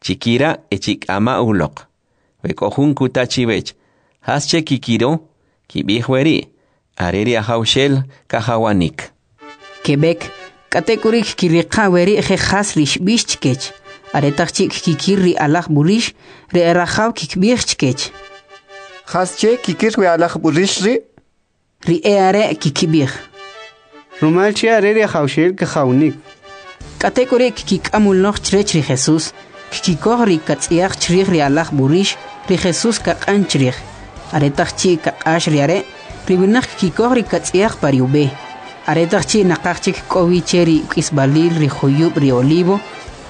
Chikira' e chik'ama' uloq. We k'o jun kuta chiwech, Jas che kikiro? Kib'ij weri': Are ri Ajawxel kajawanik. Keb'ek, k'atek'uri' kkiriqa' weri' je' jas ri xb'ix chkech. Aretaq chi' kkikir ri alaj b'urix, ri erajaw kkib'ij chkech: Jasche kikir we alaj b'urix ri'? Ri e'are' kkib'ij: Rumal che are ri Ajawxel kajawnik. K'atek'uri' kkik'am uloq chrech ri Jesus, kkikoj ri katz'yaq chrij ri alaj b'urix, ri Jesus kaq'an chrij. Aretaq chi' kaq'ax ri are', ri winaq kkikoj ri katz'yaq pa ri ub'e. Aretaq chi' naqaj chik k'o wi che ri uk'isb'alil ri juyub' ri Olivo,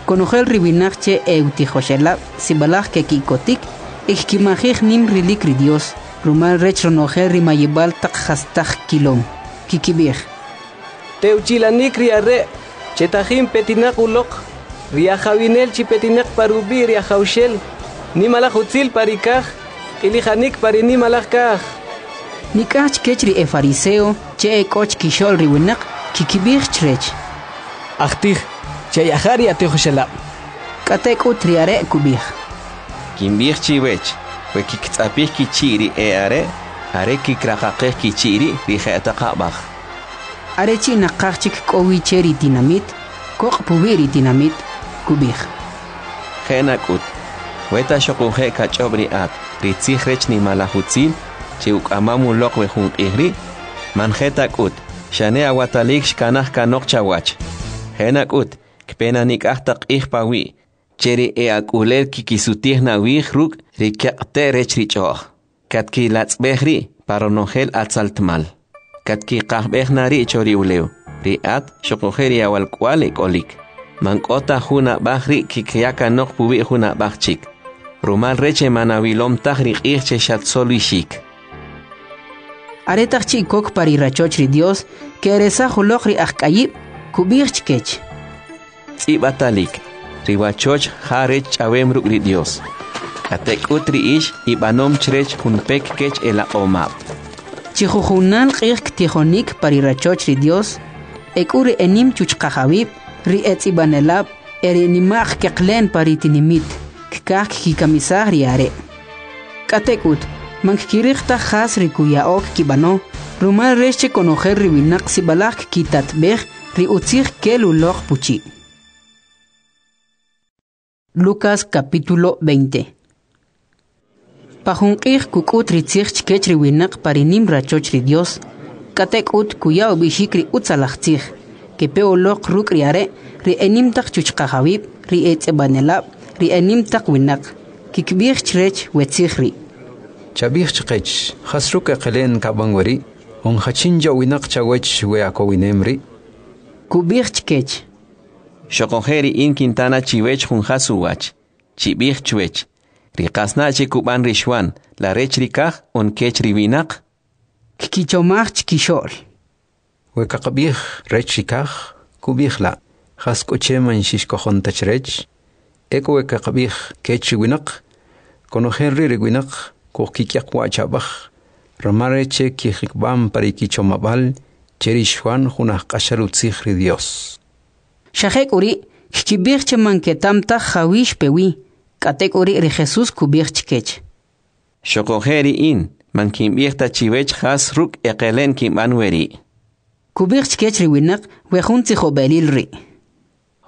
konojel ri winaq che e'utijoxelab' sib'alaj keki'kotik e kkimajij nim rilik ri Dyos, rumal rech ronojel ri mayib'al taq jastaq kilom. Kkib'ij: Tewchi'lanik ri are' che tajin petinaq uloq, ri ajawinel chi petinaq pa rub'i' ri Ajawxel, nimalaj utzil pa ri kaj, q'ilijanik pa ri nimalaj kaj. Nik'aj chkech ri efariseo che ek'o chkixo'l ri winaq, kkib'ij chrech: Ajtij, che'yaja' ri atijoxelab'. K'atek'ut ri are' kub'ij: Kinb'ij chiwech, we kkitz'apij kichi' ri e'are', are kikraqaqej kichi' ri' ri je'taq ab'aj. Are chi' naqaj chik k'o wi che ri tinamit, koq' puwi' ri tinamit, kub'ij: Je' nak'ut, weta xoquje' kach'ob' ri at ri tzij rech nimalaj utzil che uk'amam uloq we jun q'ij ri', man je ta k'ut, xane awatalik xkanaj kanoq chawach. Je' nak'ut, kpe na nik'aj taq q'ij pawi', che ri e'ak'ulel kkisutij na awij ruk' ri keq'te' rech ri ch'o'j, katkilatz'b'ej ri' pa ronojel atzaltmal, katkiqajb'ej na ri' cho ri ulew, ri at xoquje' ri awalk'uwa'l ek'olik. Man k'o ta jun ab'aj ri' kkiya kanoq puwi' jun ab'aj chik, rumal rech che man awilom taj ri q'ij che xatsolixik. Aretaq chi' kok pa ri rachoch ri Dyos, ke'eresaj uloq ri ajk'ayib', kub'ij chkech: Tz'ib'atalik, ri wachoch ja rech ch'awem ruk' ri Dyos. K'atek'ut ri ix ib'anom chrech jun pek kech elaq'omab'. Chi jujunal q'ij ktijonik pa ri rachoch ri Dyos, ek'u ri enim chuchqajawib', ri etz'ib'anelab' e ri enima'q keqle'n pa ri tinimit, kkaj kkikamisaj ri are'. K'atek'ut, man kkiriq taj jas ri kuya'o kkib'ano, rumal rech che konojel ri winaq sib'alaj kkitatb'ej ri utzij kel uloq puchi'. Lucas capítulo 20 Pa jun q'ij kuk'ut ri tzij chkech ri winaq pa ri nim rachoch ri Dyos, k'atek'ut kuya ub'ixik ri utzalaj tzij. Kepe uloq ruk' ri are' ri enim taq chuchqajawib', ri etz'ib'anelab', ri enim taq winaq. Kkib'ij chrech we tzij ri': Chab'ij chqech, jas ruk' eqele'n kab'an weri', on jachin yo'winaq chawech we akowinem ri'? Kub'ij chkech: Xoquje' ri in kinta na chiwech jun jas uwach. Chib'ij chwech, ri qasna' che kub'an ri Xwan, la rech ri kaj on kech ri winaq? Kkichomaj chkixo'l: We kaqab'ij rech ri kaj, kub'ij la': Jas k'u che man xixkojon ta chrech? Ek'u we kaqab'ij kech ri winaq, konojel ri' ri winaq kujkik'yaq wa' cha'b'aj, rumal rech che kijikb'am pa ri kichomab'al che ri Xwan jun ajq'axal utzij ri Dyos. Xa jek'uri', kkib'ij che man keta'm taj jawi' xpe wi. K'atek'uri' ri Jesus kub'ij chkech: Xoquje' ri in, man kinb'ij ta chiwech jas ruk' eqele'n kinb'an weri'. Kub'ij chkech ri winaq we jun tzijob'elil ri':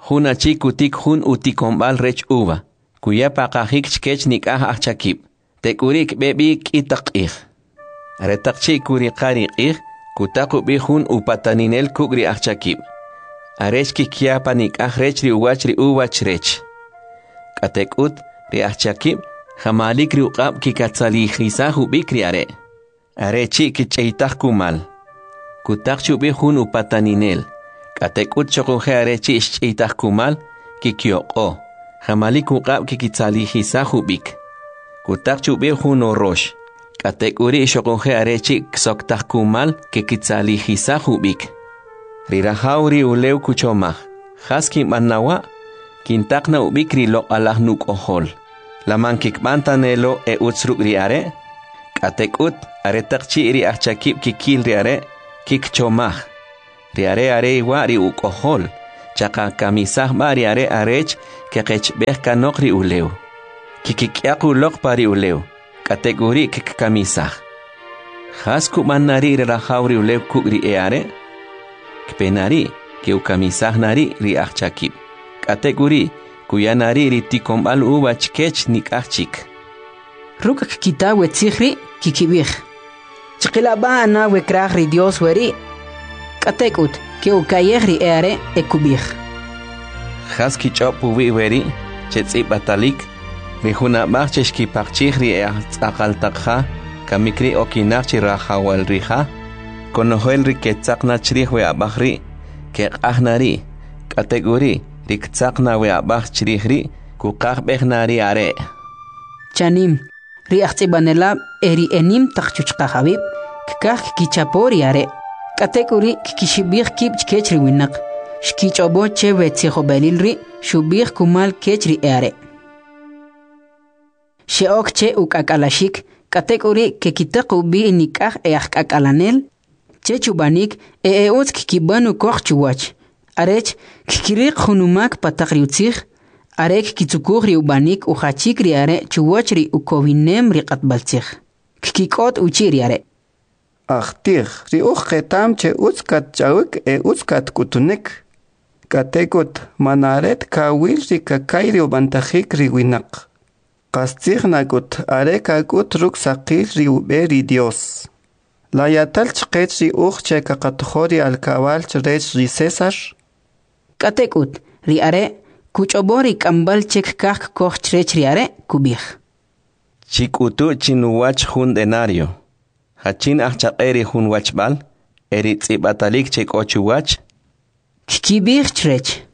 Jun achi kutik jun utikonb'al rech uva, kuya paqajik chkech nik'aj ajchakib', tek'uri' kb'e b'i k'i taq q'ij. Aretaq chi' kuriqa ri q'ij, kutaq ub'i jun upataninel kuk' ri ajchakib', arech kikya panik'aj rech ri uwach ri uva chrech. K'atek'ut, ri ajchakib' jamalik ri uq'ab' kikatzalijisaj ub'ik ri are', are chi' kich'eytaj kumal. Kutaq chi ub'i jun upataninel, k'atek'ut xoquje' are chi' xch'iytaj kumal, kikyoq'o, jamalik uq'ab' kikitzalijisaj ub'ik. Kutaq chi ub'i jun urox, k'atek'uri' xoquje' are chi' ksoktaj kumal kikitzalijisaj ub'ik. Ri rajaw ri ulew kuchomaj, jas kinb'an na wa'? Kintaq na ub'ik ri loq'alaj nuk'ojol. La man kikb'an ta ne lo e utz ruk' ri are'? K'atek'ut, aretaq chi' ri ajchakib' kikil ri are', kikchomaj, ri are' are wa' ri uk'ojol, Chaqakamisaj b'a' ri are' arech keqechb'ej kanoq ri ulew. Kkik'yaq uloq pa ri ulew, k'atek'uri' kkikamisaj. Jas kub'an na ri' ri rajaw ri ulew kuk' ri e'are'? Kpe na ri', ke'ukamisaj na ri' ri ajchakib', k'atek'uri' kuya na ri' ri tikonb'al uva chkech nik'aj chik. Ruk' kkita we tzij ri', kkib'ij: Chqila' b'a' na we kraj ri Dios weri'. K'atek'ut, ke'uka'yej ri e'are' e kub'ij: Jas kich'ob' puwi' weri' che tz'ib'atalik? Ri jun ab'aj che xkipaqchij ri e'ajtz'aqal taq ja, kamik ri' okinaq chi rajawal ri ja. Konojel ri ketzaq na chrij we ab'aj ri', keq'aj na ri', k'atek'uri', ri ktzaq na we ab'aj chrij ri', kuqajb'ej na ri are'. Chanim, ri ajtz'ib'anelab' e ri enim taq chuchqajawib' kkaj kkichapo ri are', k'atek'uri' kkixib'ij kib' chkech ri winaq. Xkich'ob'o che we tzijob'elil ri' xub'ij kumal kech ri e'are'. Xe'ok che uk'ak'alaxik, k'atek'uri' kekitaq ub'i nik'aj e'ajk'ak'alanel chech ub'anik e e'utz kkib'an ukoq chuwach, arech kkiriq jun umak pa taq ri utzij, are kkitzukuj ri ub'anik ujachik ri are' chuwach ri ukowinem ri q'atb'altzij. Kkik'ot uchi' ri are'. Ajtij, ri uj qeta'm che utz katch'awik e utz katk'utunik. K'atek'ut, man are ta kawil ri kaka'y ri ub'antajik ri winaq. Qastzij nak'ut are kak'ut ruk' saqil ri ub'e ri Dios. La ya'tal chqech ri uj che kaqatojo ri alkab'al chrech ri Cesar? K'atek'ut, ri are' kuch'ob'o ri k'amb'al che kkaj kkoj chrech ri are', kub'ij: Chik'utu' chinuwach jun denario. Jachin ajchaq'e ri jun wachb'al e ri tz'ib'atalik che k'o chuwach? Kkib'ij chrech: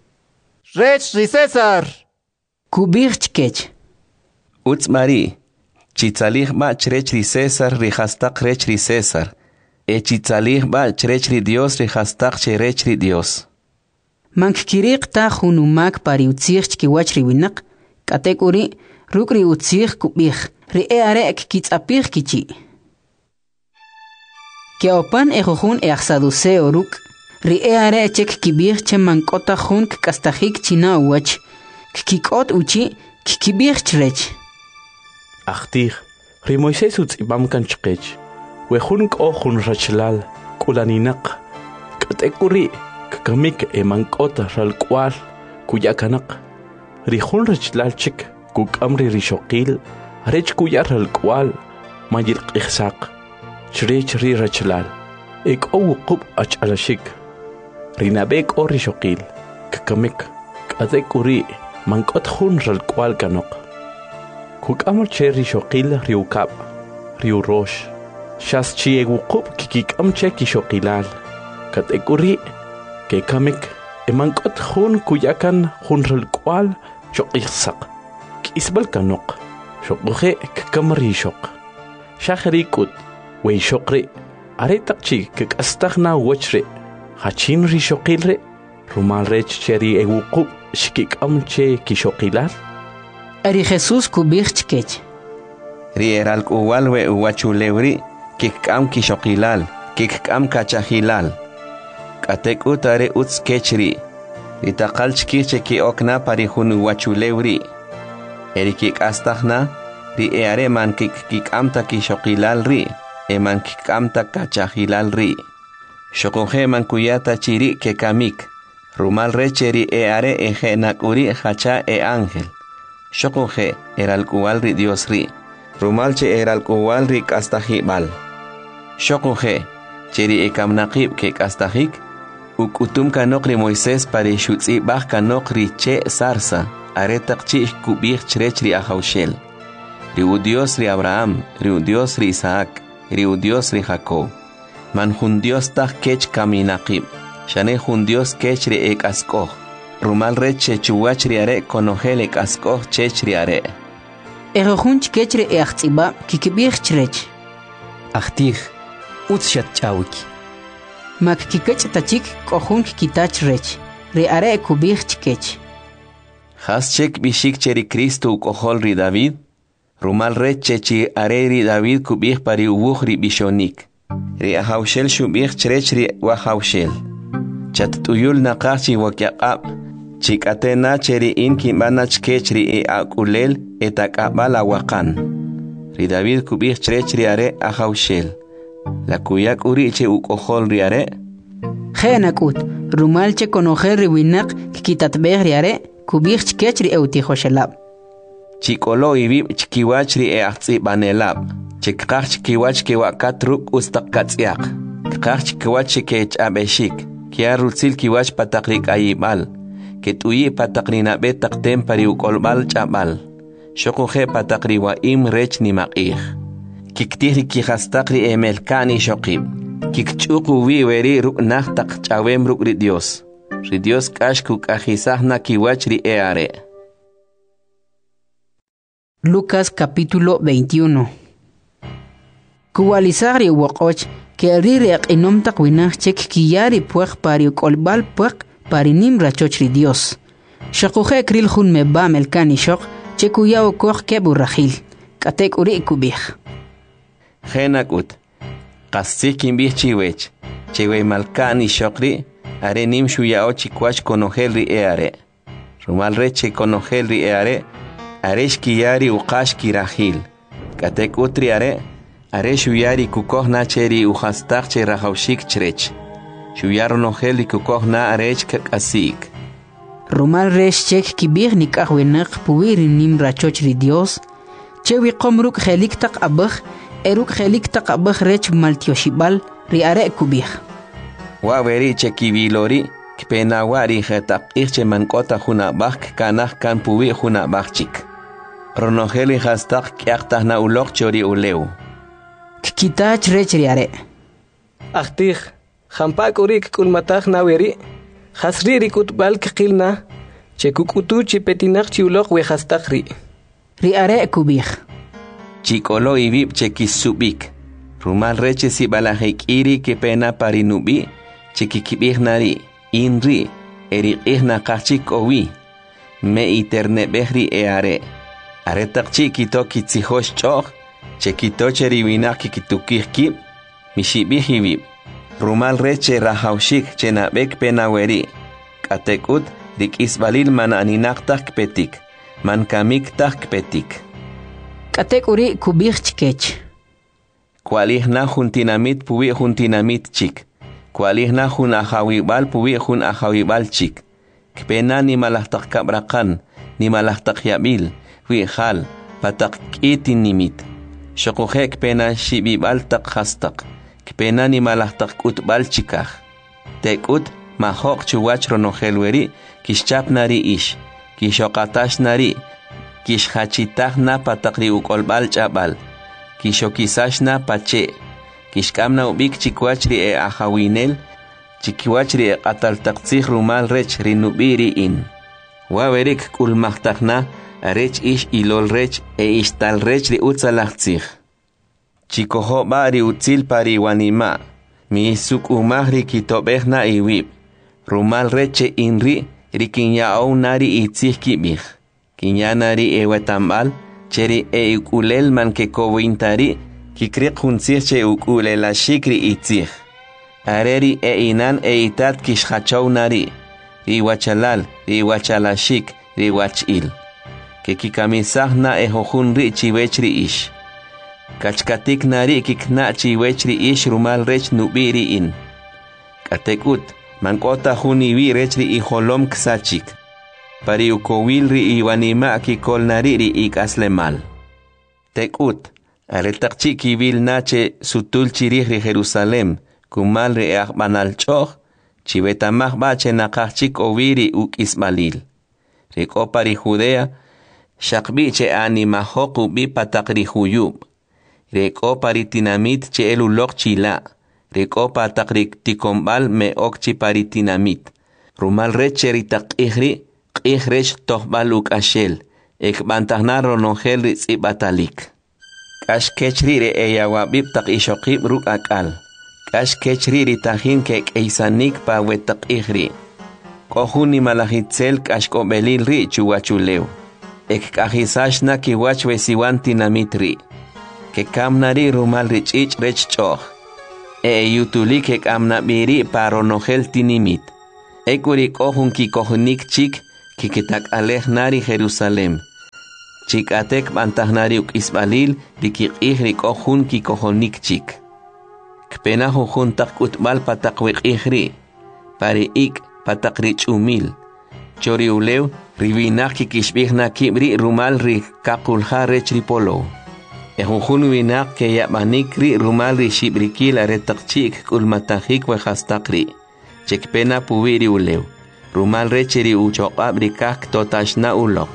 Rech ri Cesar! Kub'ij chkech: Utz b'a ri', chitzalij b'a' chrech ri Cesar ri jastaq rech ri Cesar, e chitzalij b'a' chrech ri Dios ri jastaq che rech ri Dios. Man kkiriq ta jun umak pa ri utzij chkiwach ri winaq, k'atek'uri', ruk' ri utzij kub'ij, ri e'are' kkitz'apij kichi'. Ke'opan ejujun e'ajsaduceo ruk', ri e'are' che kkib'ij che man k'o ta jun kk'astajik chi na uwach. Kkik'ot uchi', kkib'ij chrech: Ajtij, ri Moisés utz'ib'am kan chqech, we jun k'o jun rachalal k'ulaninaq, k'atek'uri' kkamik e man k'o ta ralk'wa'l kuya kanoq. Ri jun rachalal chik kuk'am ri rixoqil arech kuya ralk'wa'l mayilq'ijsaq chrech ri rachalal. E k'o wuqub' achalaxik. Ri nab'e k'o rixoqil, kkamik, k'atek'uri' man k'o ta jun ralk'wa'l kanoq. Kuk'am che rixoqil ri ukab', ri urox, xas chi e wuqub' kkik'am che kixoqilal, k'atek'uri' kekamik e man k'o ta jun kuya kan jun ralk'wa'l choq'ijsaq. K'isb'al kanoq, xuquje' kkam ri ixoq. Xa jeri' k'ut, we ixoq ri' aretaq chi' kk'astaj na uwach ri', jachin rixoqil ri'? Rumal rech che ri e wuqub' xkik'am che kixoqilal. E ri Jesus kub'ij chkech: Ri e ralk'uwal we uwachulew ri' kkik'am kixoqilal, kkik'am kachajilal. K'atek'ut are utz kech ri', ri taqal chkij che ke'ok na pa ri jun uwachulew ri'. E ri kek'astaj na, ri e'are' man kkik'am ta kixoqilal ri' e man kkik'am ta kachajilal ri'. Xuquje' man kuya ta chi ri' kekamik, rumal rech che ri e'are' eje' nak'uri' jacha e'ángel. Xuquje' eralk'uwa'l ri Dios ri', rumal che eralk'uwa'l ri k'astajib'al. Xuquje' che ri ekaminaqib' kek'astajik, uk'utum kanoq ri Moisés pa ri xutz'ib'aj kanoq ri che' zarza aretaq chi' kub'ij chrech ri Ajawxel, ri Udyos ri Abraham, ri Udyos ri Isaac, ri Udyos ri Jacob. Man jun Dios taj kech kaminaqib', xane jun Dios kech ri ek'ask'oj, rumal rech che chuwach ri are' konojel ek'ask'oj chech ri are'. Ejujun chkech ri e'ajtz'ib'ab' kkib'ij chrech: Ajtij, utz xatch'awik. Ma kkikach' ta chik k'o jun kkita chrech. Ri are' kub'ij chkech: Jas che kb'ixik che ri Cristo uk'ojol ri David? Rumal rech che chi are ri David kub'ij pa ri uwuj ri b'ixonik. Ri Ajawxel xub'ij chrech ri Wajawxel: Chatt'uyul naqaj chi wikyaq'ab', chi k'ate' na che ri in kinb'an na chkech ri e'ak'ulel etak'ab'al awaqan. Ri David kub'ij chrech ri are' Ajawxel, la kuya k'uri' che uk'ojol ri are'? Je' nak'ut, rumal che konojel ri winaq kkitatb'ej ri are', kub'ij chkech ri e'utijoxelab'. Chik'olo iwib' chkiwach ri e'ajtz'ib'anelab', che kqaj chkiwach kewa'kat ruk' utz taq katz'yaq, kqaj chkiwach che kech'ab'exik, kya rutzil kiwach pa taq ri k'ayib'al, ket'uyi' pa taq ri nab'e taq tem pa ri uk'olb'al ch'ab'al, xuquje' pa taq ri wa'im rech nimaq'ij. Kiktij ri kijastaq ri emelka'n ixoqib', kikch'uq uwi' weri' ruk' naj taq ch'awem ruk' ri Dios. Ri Dios k'ax kuk'ajisaj na kiwach ri e'are'. Lucas capítulo 21. Kuwa'lisaj ri uwoq'och, ke'ril ri eq'inom taq winaq che kkiya ri pwaq pa ri uk'olb'al pwaq pa ri nim rachoch ri Dios. Xuquje' kril jun meb'a' melka'n ixoq che kuya ukoq keb' urajil, k'atek'uri' kub'ij. Je' nak'ut, qastzij kinb'ij chiwech, che we malka'n ixoq ri' are nim xuya'o chikwach konojel ri e'are'. Rumal rech che konojel ri e'are' are xkiya ri uqax kirajil, k'atek'ut ri are' are xuya ri kukoj na che ri ujastaq che rajawxik chrech. Xuya ronojel ri kukoj na arech kak'asi'k. Rumal rech che kkib'ij nik'aj winaq puwi' ri nim rachoch ri Dios, che wiqom ruk' je'lik taq ab'aj e ruk' je'lik taq ab'aj rech maltyoxib'al, ri are' kub'ij. Wa' weri' che kiwilo ri', kpe na wa' ri jetaq q'ij che man k'o ta jun ab'aj kkanaj kan puwi' jun ab'aj chik. Ronojel ri jastaq k'yaqtaj na uloq cho ri ulew. Kkita chrech ri are'. Ajtij, jampa' k'u ri' kk'ulmataj na weri'? Jas ri' ri k'utb'al kqil na, che kuk'utu chi petinaq chi uloq we jastaq ri'? Ri are' kub'ij. Chik'olo iwib' che kisub'ik, rumal rech che sib'alaj e k'i ri kepe na pa ri nub'i', che kikib'ij na ri', in ri', e ri q'ij naqaj chik k'o wi. Me'iterneb'ej ri e'are'. Aretaq chi' kito kitzijox ch'o'j, che kito che ri winaq kikitukij kib', mixib'ij iwib', rumal rech che rajawxik che nab'e kpe na weri', k'atek'ut ri k'isb'alil man aninaq taj kpetik, man kamik taj kpetik. K'atek'uri' kub'ij chkech. Kwa'lij na jun tinamit puwi' jun tinamit chik, kwa'lij na jun ajawib'al puwi' jun ajawib'al chik. Kpe na nimalaj taq kab'raqan, nimalaj taq yab'il, wi'jal, pa taq k'i tinimit. Xuquje' kpe na xib'ib'al taq jastaq, kpe na nimalaj taq k'utb'al chikaj. Tek'ut, majo'q chuwach ronojel weri' kixchap na ri ix, kixoqatax na ri', kixjachitaj na pa taq ri uk'olb'al ch'ab'al, kixokisax na pa che', kixk'am na ub'ik chikwach ri e'ajawinel, chikiwach ri eq'atal taq tzij rumal rech ri nub'i' ri in. Wa' weri' kk'ulmajtaj na arech ix ilol rech e ix tal rech ri utzalaj tzij. Chikojo' b'a' ri utzil pa ri wanima', misuk'umaj ri kitob'ej na iwib', rumal rech che in ri' ri kinya'ow na ri itzij kib'ij. Kinya na ri ewetamb'al che ri e'ik'ulel man kekowin ta ri' kikriq jun tzij che uk'ulelaxik ri itzij. Are ri e'inan e'itat kixjachow na ri', ri iwachalal, ri iwachalaxik, ri iwach'il. Kekikamisaj na ejujun ri' chiwech ri ix. Kachkatik na ri' kikna' chiwech ri ix rumal rech nub'i' ri in. K'atek'ut, man k'o ta jun iwi' rech ri ijolom ksachik. Pa ri ukowil ri iwanima' kikol na ri' ri ik'aslemal. Tek'ut, aretaq chi' kiwil na che sutul chirij ri Jerusalem kumal ri e'ajb'anal ch'o'j, chiweta'maj b'a' che naqaj chik k'o wi ri uk'isb'alil. Ri k'o pa ri Judea, xaq b'i che animajoq ub'i pa taq ri juyub'. Ri k'o pa ri tinamit che'el uloq chila', ri k'o pa taq ri tikonb'al me'ok chi pa ri tinamit. Rumal rech che ri taq q'ij ri', q'ij rech tojb'al uk'axel, e kb'antaj na ronojel ri tz'ib'atalik. K'ax kech ri' ri eyawab'ib' taq ixoqib' ruk' ak'al. K'ax kech ri' ri tajin kek'eysanik pa we taq q'ij ri'. K'o jun nimalaj itzel k'axk'ob'elil ri' chuwachulew. E kk'ajisax na kiwach we siwan tinamit ri'. Kekam na ri' rumal ri ch'ich' rech ch'o'j. E eyutulik kek'am na b'i ri' pa ronojel tinimit. Ek'u ri k'o jun kikojonik chik kkitak'alej na ri Jerusalem. Chi k'ate kb'antaj na ri uk'isb'alil ri kiq'ij ri k'o jun kikojonik chik. Kpe na jujun taq k'utb'al pa taq we q'ij ri', pa ri ik', pa taq ri ch'umil. Cho ri ulew, ri winaq kkixib'ij na kib' ri' rumal ri kaqulja rech ri polow. E jujun winaq keyab'anik ri' rumal ri xib'rikil aretaq chi' kk'ulmatajik we jastaq ri', che kpe na puwi' ri ulew, rumal rech che ri uchoq'ab' ri kaj ktotax na uloq.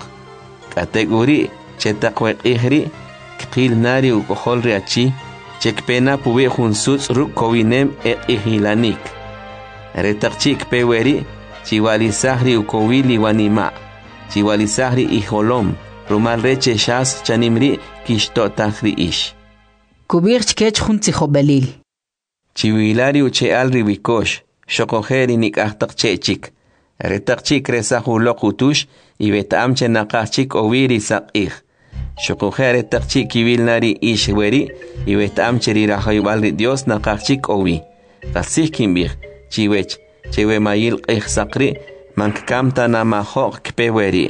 K'atek'uri', che taq we q'ij ri', kqil na ri uk'ojol ri achi, che kpe na puwi' jun sutz' ruk' kowinem e q'ijilanik. Aretaq chi' kpe weri', chiwa'lisaj ri ukowil iwanima', chiwa'lisaj ri ijolom, rumal rech che xas chanim ri' kixto'taj ri ix. Kub'ij chkech jun tzijob'elil. Chiwila ri uche'al ri wikox, xoquje' ri nik'aj taq che' chik. Aretaq chi' kresaj uloq utux, iweta'am che naqaj chik k'o wi ri saq'ij. Xoquje' aretaq chi' kiwil na ri ix weri', iweta'am che ri rajawib'al ri Dios naqaj chik k'o wi. Qastzij kinb'ij chiwech, che we mayil q'ij saq ri' man kkam ta na majo'q kpe weri'.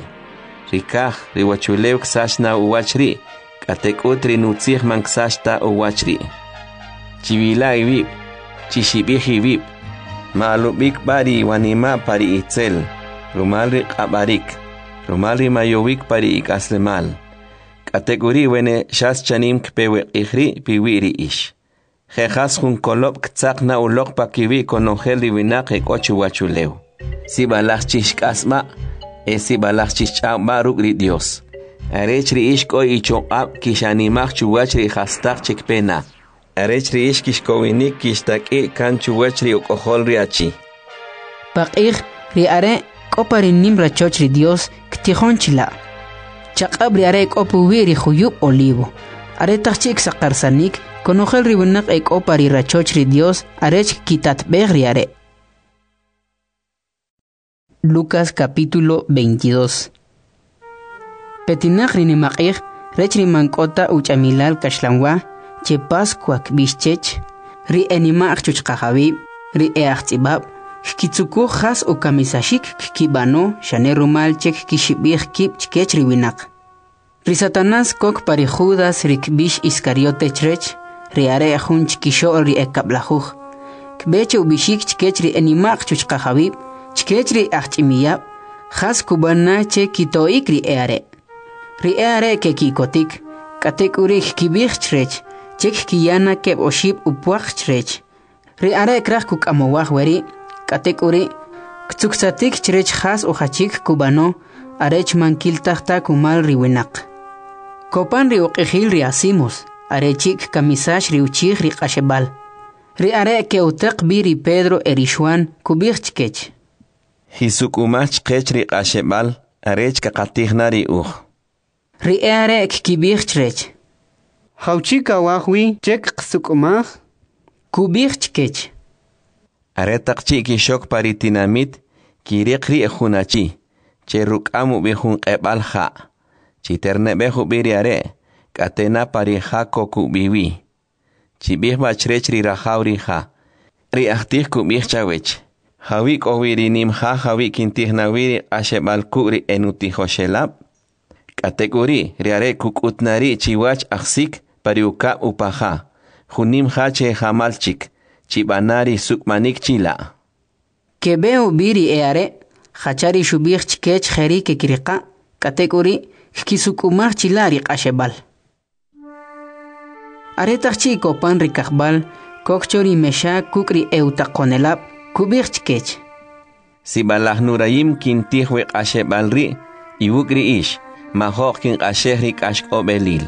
Ri kaj, ri uwachulew ksach na uwach ri', k'atek'ut ri nutzij man ksach ta uwach ri'. Chiwila' iwib', chixib'ij iwib', ma'alub'ik b'a ri iwanima' pa ri itzel, rumal ri q'ab'arik, rumal ri mayowik pa ri ik'aslemal. K'atek'uri' wene xas chanim kpe we q'ij ri' piwi' ri ix. Je' jas jun kolob' ktzaq na uloq pakiwi' konojel ri winaq ek'o chuwachulew. Sib'alaj chixk'asb'a' e sib'alaj chixch'aw b'a' ruk' ri Dios. Arech ri ix k'o ichoq'ab' kixanimaj chuwach ri jastaq che kpe na. Arech ri ix kixkowinik kixtak'i' kan chuwach ri uk'ojol ri achi. Paq'ij, ri are' k'o pa ri nim rachoch ri Dios ktijon chila'. Chaq'ab' ri are' k'o puwi' ri juyub' Olivo. Aretaq chi' ksaqarsanik, konojel ri winaq e k'o pa ri rachoch ri Dios arech kkitatb'ej ri are'. Lucas capítulo 22. Petinaq ri nimaq'ij rech ri man k'o ta uch'amilal kaxlanwa, che Pascua kb'ix chech, ri e nima'q chuchqajawib', ri e ajtz'ib'ab', kkitzukuj jas ukamisaxik kkib'ano xane rumal che kkixib'ij kib' chkech ri winaq. Ri Satanás kok pa ri Judas ri kb'ix Iscariote chrech, ri are' jun chkixo'l ri e kab'lajuj. Kb'e che ub'ixik chkech ri e nima'q chuchqajawib', chkech ri ajch'imiyab', jas kub'an na che kito'ik ri e are'. Ri e are' keki'kotik, k'atek'uri' kkib'ij chrech, che kkiya na keb' oxib' upwaq chrech. Ri are' kraj kuk'amowaj weri', k'atek'uri' ktzuksatik chrech jas ujachik kub'ano, arech man kiltaj ta kumal ri winaq. Kopan ri uq'ijil ri asimos, are chi' kkamisax ri uchij ri q'axeb'al. Ri are' ke'utaq b'i ri Pedro e ri Xuan, kub'ij chkech: Jisuk'umaj chqech ri q'axeb'al, arech kaqatij na ri uj. Ri e are' kkib'ij chrech: Jawchi' kawaj wi che kqasuk'umaj? Kub'ij chkech: Aretaq chi' kixok pa ri tinamit, kiriq ri' jun achi, che ruk'am ub'i jun q'eb'al ja'. Chiterneb'ej ub'i ri are', k'ate na pa ri ja kok ub'i wi. Chib'ij b'a chrech ri rajaw ri ja. Ri ajtij kub'ij chawech, jawi' k'o wi ri nim ja jawi' kintij na wi ri q'axeb'al kuk' ri enutijoxelab'? K'atek'uri', ri are' kuk'ut na ri' chiwach ajsik pa ri ukab' upaja, jun nim ja che jamal chik, chib'ana ri suk'manik chila'. Keb'e ub'i ri e are', jacha ri xub'ij chkech jeri' kekiriqa', k'atek'uri' kkisuk'umaj chila' ri q'axeb'al. Aretaq chi' kopan ri kajb'al, kok cho ri mexa kuk' ri e'utaqonelab', kub'ij chkech: Sib'alaj nurayim kintij we q'axeb'al ri' iwuk' ri ix, majo'q kinq'axej ri k'axk'ob'elil.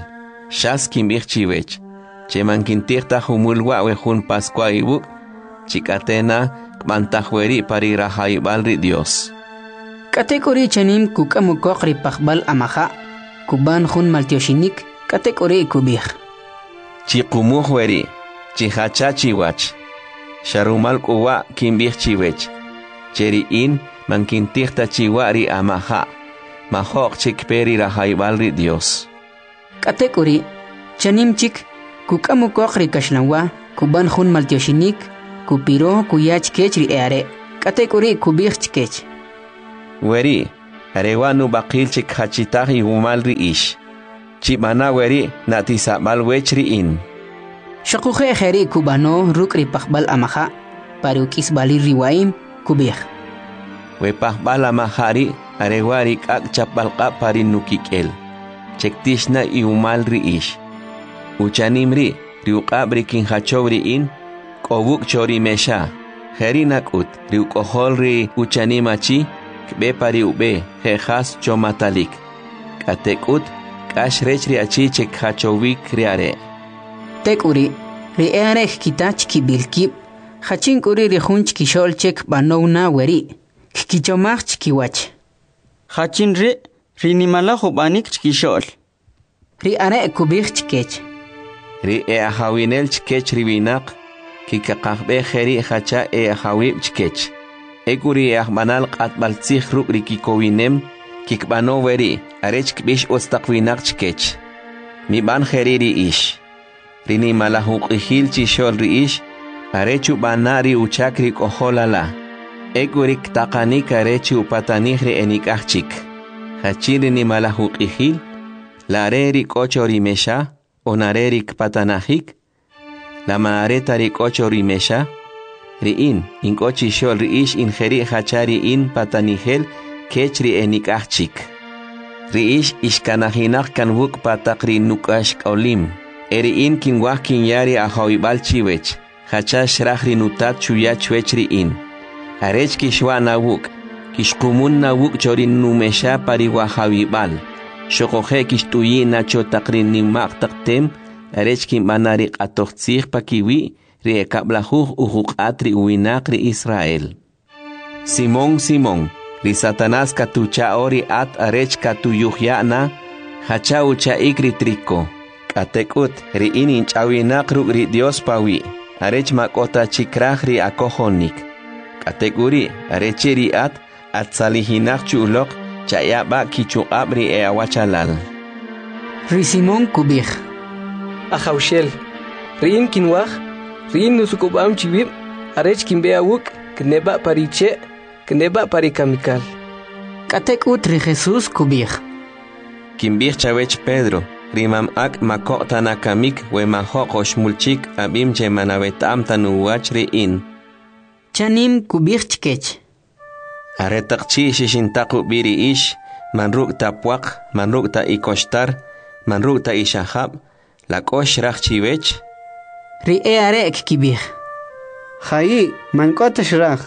Xas kinb'ij chiwech, che man kintij ta jumul wa' we jun Pascua iwuk', chi k'ate na kb'antaj weri' pa ri rajawib'al ri Dios. K'atek'uri' chanim kuk'am ukoq ri pajb'al amaja', kub'an jun maltyoxinik, k'atek'uri' kub'ij: Chiqumuj weri', chijacha chiwach. Xa rumal k'u wa' kinb'ij chiwech, che ri in man kintij ta chiwa' ri amaja', majo'q chik kpe ri rajawib'al ri Dios. K'atek'uri', chanim chik, kuk'am ukoq ri kaxlanwa, kub'an jun maltyoxinik, kupiro kuya chkech ri e are'. K'atek'uri' kub'ij chkech: Weri', are wa' nub'aqil che kjachitaj iwumal ri ix. Chib'ana weri' na'tisab'al wech ri in. Xoquje' jeri' kub'ano ruk' ri pajb'al amaja', pa ri uk'isb'alil ri wa'im, kub'ij: We pajb'al amaja' ri' are wa' ri k'ak' chapb'al q'ab' pa ri nukik'el, che ktix na iwumal ri ix. Uchanim ri', ri uq'ab' ri kinjachow ri in, k'o wuk' cho ri mexa. Jeri' nak'ut, ri uk'ojol ri uchanim achi, kb'e pa ri ub'e, je' jas chomatalik. K'atek'ut, k'ax rech ri achi che kjachowik ri are'. Tek'uri', ri e'are' kkita chkib'il kib', jachin k'u ri' ri jun chkixo'l che kb'anow na weri', kkichomaj chkiwach. Jachin ri' ri nimalaj ub'anik chkixo'l? Ri are' kub'ij chkech: Ri e'ajawinel chkech ri winaq, kikaqajb'ej jeri' jacha e'ajawib' chkech. Ek'u ri e'ajb'anal q'atb'al tzij ruk' ri kikowinem, kikb'ano weri' arech kb'ix utz taq winaq chkech. Mib'an jeri' ri ix. Ri nimalaj uq'ijil chixo'l ri ix, are chub'ana' ri uchak ri k'ojol ala. Ek'u ri ktaqanik are chi upatanij ri enik'aj chik. Jachin ri nimalaj uq'ijil? La are ri k'o cho ri mexa, on are ri kpatanajik? La man are ta ri k'o cho ri mexa? Ri in, in k'o chixo'l ri ix in jeri' jacha ri in patanijel kech ri enik'aj chik. Ri ix ixkanajinaq kan wuk' pa taq ri nuk'axk'olim. E ri in kinwaj kinya ri ajawib'al chiwech, jacha xraj ri nutat xuya chwech ri in. Arech kixwa' na wuk', kixqumun na wuk' cho ri numexa pa ri wajawib'al. Xoquje' kixt'uyi' na cho taq ri nima'q taq tem, arech kinb'ana ri q'atoj tzij pakiwi' ri ekab'lajuj ujuq'at ri uwinaq ri Israel. Simón, Simón, ri Satanás katucha'o ri at arech katuyujya' na, jacha ucha'ik ri triko. K'atek'ut, ri in inch'awinaq ruk' ri Dios pawi', arech ma k'o ta chi kraj ri akojonik. K'atek'uri', arechi' ri at, atzalijinaq chu uloq, chaya' b'a' kichuq'ab' ri e'awachalal. Ri Simón kub'ij: Ajawxel, ri in kinwaj, ri in nusuk'ub'am chi wib', arech kinb'e awuk', kneb'a' pa ri che', kneb'a' pa ri kamikal. K'atek'ut ri Jesús kub'ij: Kinb'ij chawech Pedro, ri mam ak' ma koq' ta na kamik we majo'q oxmul chik ab'im che man aweta'm ta nuwach ri in. Chanim kub'ij chkech: Aretaq chi' xixintaq ub'i ri ix, man ruk' ta pwaq, man ruk' ta ikoxtar, man ruk' ta ixajab', la k'o xraj chiwech? Ri e'are' kkib'ij: Jayi', man k'o ta xraj.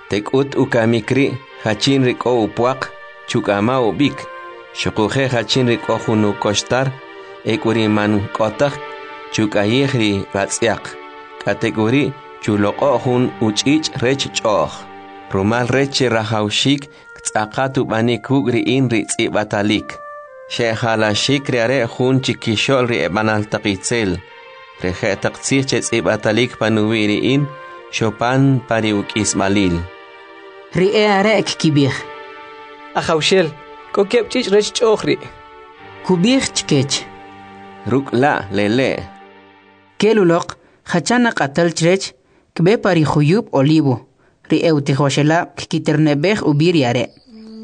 Tek'ut ukamik ri', jachin ri k'o upwaq, chuk'ama ub'ik, xuquje' jachin ri k'o jun ukoxtar, ek'u ri man k'o taj, chuk'ayij ri ratz'yaq, k'atek'uri' chuloq'o' jun uch'ich' rech ch'o'j. Rumal rech che rajawxik ktz'aqat ub'anik kuk' ri in ri tz'ib'atalik. Xe'jalaxik ri are' jun chikixo'l ri eb'anal taq itzel. Ri je'taq tzij che tz'ib'atalik panuwi' ri in, xopan pa ri uk'isb'alil. Ri e'are' kkib'ij: Ajawxel, k'o keb' ch'ich' rech ch'o'j ri'. Kub'ij chkech: Ruk' la' lele'. Kel uloq, jacha naq'atal chrech, kb'e pa ri juyub' Olivo. Ri e'utijoxelab' kkiterneb'ej ub'i ri are'.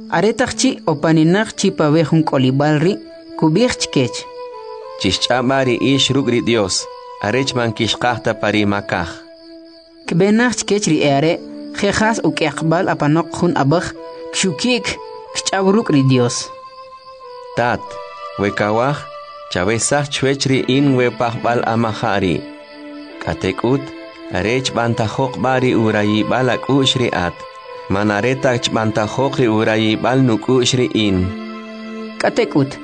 Aretaq chi' opaninaq chi pa we jun k'olib'al ri', kub'ij chkech: Chixch'ab'a ri ix ruk' ri Dios, arech man kixqaj ta pa ri makaj. Kb'e naj chkech ri e'are', je' jas uk'yaqb'al apanoq jun ab'aj, kxuki'k, kch'aw ruk' ri Dios. Tat, we kawaj, chawesaj chwech ri in we pajb'al amaja' ri'. K'atek'ut, arech b'antajoq b'a ri urayib'al ak'u'x ri at, man are ta chb'antajoq ri urayib'al nuk'u'x ri in. K'atek'ut,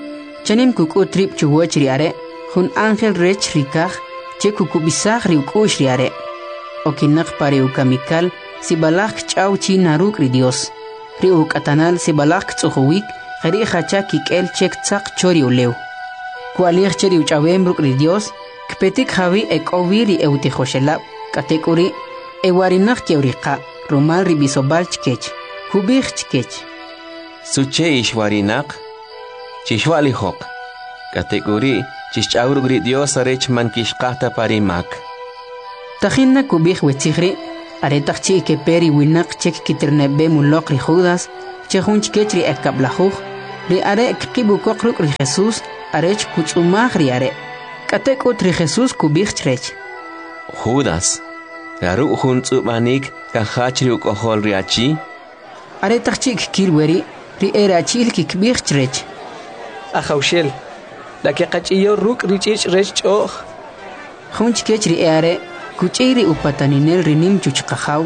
chanim kuk'ut rib' chuwach ri are', jun ángel rech ri kaj che kukub'isaj ri uk'u'x ri are'. Okinaq pa ri ukamikal, sib'alaj kch'aw chi na ruk' ri Dios. Ri uk'atanal sib'alaj ktz'ujuwik, jeri' jacha kik'el che ktzaq cho ri ulew. Ku'alij che ri uch'awem ruk' ri Dios, kpetik jawi' e k'o wi ri e'utijoxelab', k'atek'uri' ewarinaq ke'uriqa' rumal ri b'isob'al chkech. Kub'ij chkech: Suche ixwarinaq? Chixwa'lijoq. K'atek'uri' chixch'aw ruk' ri Dios arech man kixqaj ta pa ri mak. Tajin na kub'ij we tzij ri', Aretaq chi' kepe ri winaq che kkiterne'b'em uloq ri Judas, che jun chkech ri ekab'lajuj, ri are' kqib' ukoq ruk' ri Jesus arech kutz'umaj ri are'. K'atek'ut ri Jesus kub'ij chrech: Judas, la ruk' jun tz'ub'anik kajach ri uk'ojol ri achi? Aretaq chi' kkil weri', ri erachi'l kkib'ij chrech: Ajawxel, la keqach'iyo ruk' ri ch'ich' rech ch'o'j? Jun chkech ri e'are' kuch'iy ri upataninel ri nim chuchqajaw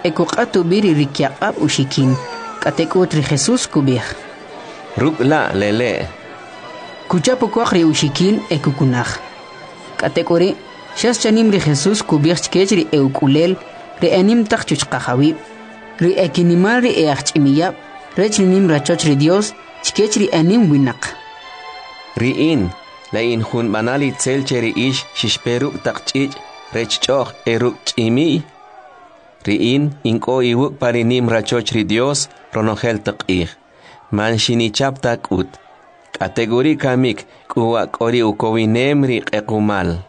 e kuq'at ub'i ri rikyaq'ab' uxikin. K'atek'ut ri Jesus kub'ij: Ruk' la' lele'. Kuchap ukoq ri uxikin e kukunaj. K'atek'uri', xas chanim ri Jesus kub'ij chkech ri e'uk'ulel, ri enim taq chuchqajawib', ri ekinimal ri e'ajch'imiyab' rech ri nim rachoch ri Dyos, chkech ri enim winaq: Ri in, la in jun b'anal itzel che ri ix xixpe ruk' taq ch'ich' rech ch'o'j e ruk' ch'imi'y? Ri in, in k'o iwuk' pa ri nim rachoch ri Dyos ronojel taq q'ij, man xinichap ta k'ut. K'atek'uri' kamik k'u wa' k'o ri ukowinem ri q'equmal.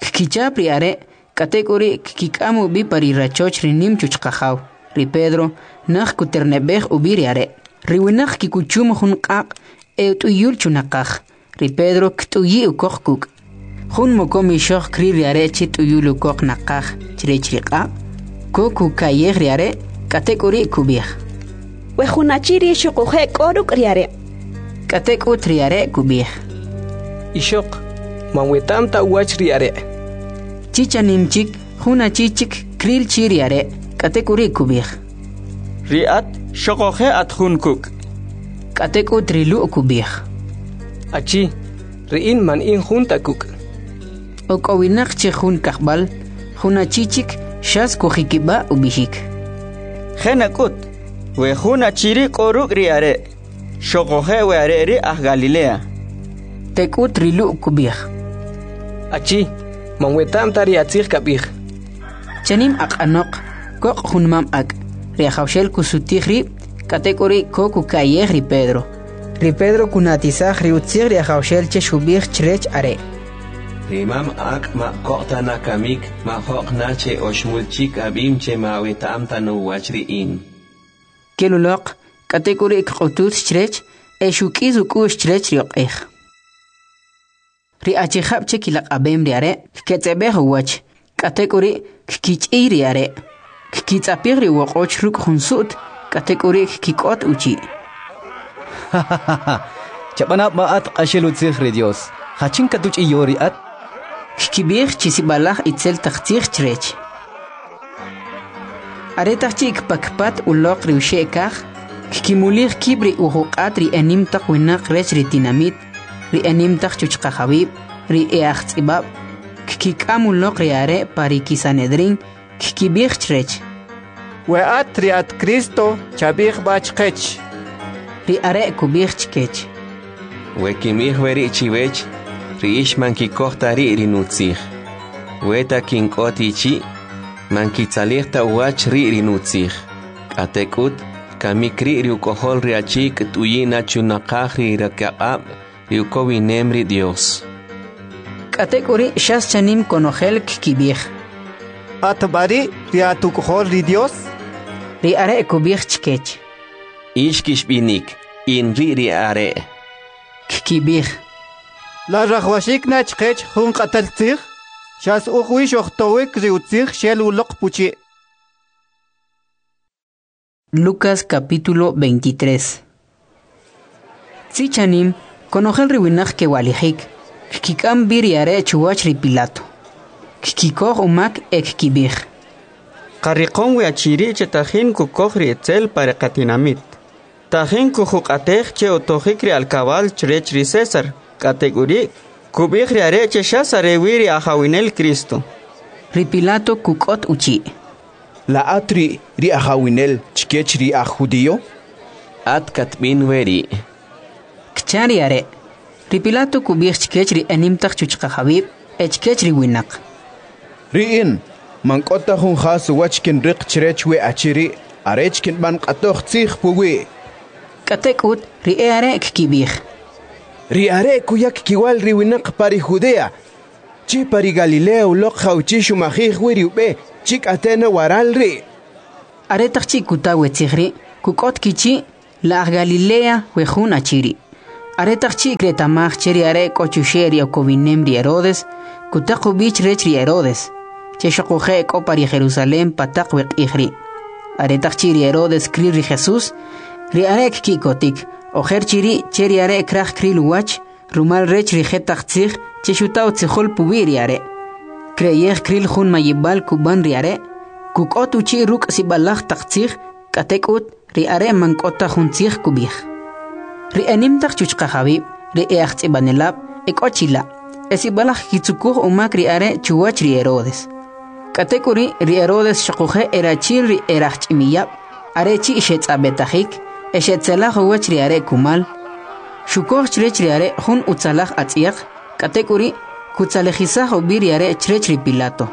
Kkichap ri are', k'atek'uri' kkik'am ub'i pa ri rachoch ri nim chuchqajaw. Ri Pedro naj kuterne'b'ej ub'i ri are'. Ri winaq kikuchum jun q'aq' e ut'uyul chunaqaj. Ri Pedro kt'uyi' ukoq kuk'. Jun mokom ixoq kril ri are' che t'uyul ukoq naqaj chrech ri q'aq', ko kuka'yej ri are', k'atek'uri' kub'ij: We jun achi ri' xuquje' k'o ruk' ri are'. K'atek'ut ri are' kub'ij: Ixoq, man weta'm ta uwach ri are'. Chi chanim chik, jun achi chik kril chi ri are', k'atek'uri' kub'ij: Ri at xuquje' at jun kuk'. K'atek'ut ri Lu' kub'ij: Achi, ri in man in jun ta kuk'. Ok'owinaq chi jun kajb'al, jun achi chik xas kujikib'a' ub'ixik: Je' nak'ut, we jun achi ri' k'o ruk' ri are', xuquje' we are' ri' aj Galilea. Tek'ut ri Lu' kub'ij: Achi, man weta'm ta ri atzij kab'ij. Chanim aq'anoq, koq' jun mam ak'. Ri Ajawxel kusutij rib', k'atek'uri' ko kuka'yej ri Pedro. Ri Pedro kunatisaj ri utzij ri Ajawxel che xub'ij chrech are': Ri mam ak' ma koq' ta na kamik, ma jo'q na che oxmul chik ab'im che ma aweta'm ta nuwach ri in. Kel uloq, k'atek'uri' kq'utut chrech e xuk'is uk'u'x chrech ri oq'ej. Ri achijab' che kilaq'ab'em ri are' kketz'eb'ej uwach, k'atek'uri' kkich'iy ri are'. Kkitz'apij ri uwoq'och ruk' jun su't, k'atek'uri' kkik'ot uchi'. Chab'ana b'a at q'axel utzij ri Dios. Jachin katuch'iyo ri at? Kkib'ij chi sib'alaj itzel taq tzij chrech. Aretaq chi' kpakpat uloq ri uxe' kaj, kkimulij kib' ri ujuq'at ri enim taq winaq rech ri tinamit, ri enim taq chuchqajawib', ri e'ajtz'ib'ab', kkik'am uloq ri are' pa ri Kisanedrin, kkib'ij chrech: We at ri at Cristo, chab'ij b'a chqech. Ri are' kub'ij chkech: We kinb'ij weri' chiwech, ri ix man kikoj ta ri' ri nutzij. We ta kink'ot ichi', man kitzalij ta uwach ri' ri nutzij. K'atek'ut, kamik ri' ri uk'ojol ri achi kt'uyi' na chunaqaj ri rikyaq'ab' ri ukowinem ri Dios. K'atek'uri' xas chanim konojel kkib'ij: At b'a ri' ri at uk'ojol ri Dios? Ri are' kub'ij chkech: Ix kixb'inik, in ri' ri are'. Kkib'ij: La rajwaxik na chqech jun q'atal tzij? Xas uj wi xojtowik ri utzij xel uloq puchi'. Lucas capítulo 23. Tzi chanim, konojel ri winaq kewalijik, kkik'am b'i ri are' chuwach ri Pilato. Kkikoj umak e kkib'ij: Qariqom we achi ri' che tajin kukoj ri itzel pa ri qatinamit. Tajin kujuq'atej che utojik ri alkabal chrech ri César, k'atek'uri' kub'ij ri are' che xas are wi ri ajawinel Cristo. Ri Pilato kuk'ot uchi': La at ri' ri ajawinel chkech ri aj judío? At katb'in weri'. Kcha ri are'. Ri Pilato kub'ij chkech ri enim taq chuchqajawib' e chkech ri winaq: Ri in, man k'o ta jun jas uwach kinriq chrech we achi ri' arech kinb'an q'atoj tzij puwi'. K'atek'ut ri e'are' kkib'ij: Ri are' kuyak kiwal ri winaq pa ri Judea, chi pa ri Galilea uloq jawchi' xumajij wi ri ub'e. chi k'ate' na waral ri'. Aretaq chi' kuta we tzij ri', kuk'ot kichi' la aj Galilea we jun achi ri'. Aretaq chi' kreta'maj che ri are' k'o chuxe' ri ukowinem ri Herodes, kutaq ub'i chrech ri Herodes, che xoquje' k'o pa ri Jerusalem pa taq we q'ij ri'. Aretaq chi' ri Herodes kril ri Jesús, ri are' kki'kotik, ojer chi ri' che ri are' kraj kril uwach, rumal rech ri jetaq tzij che xuta utzijol puwi' ri are'. Kreyej kril jun mayib'al kub'an ri are', kuk'ot uchi' ruk' sib'alaj taq tzij, k'atek'ut ri are' man k'o ta jun tzij kub'ij. Ri enim taq chuchqajawib', ri e'ajtz'ib'anelab' e k'o chila', e sib'alaj kkitzukuj umak ri are' chuwach ri Herodes. K'atek'uri' ri Herodes xoquje' erachi'l ri erajch'imiyab', are chi' xetz'ab'etajik e xetzelaj uwach ri are' kumal. Xukoj chrech ri are' jun utzalaj atz'yaq, k'atek'uri' kutzalejisaj ub'i ri are' chrech ri Pilato.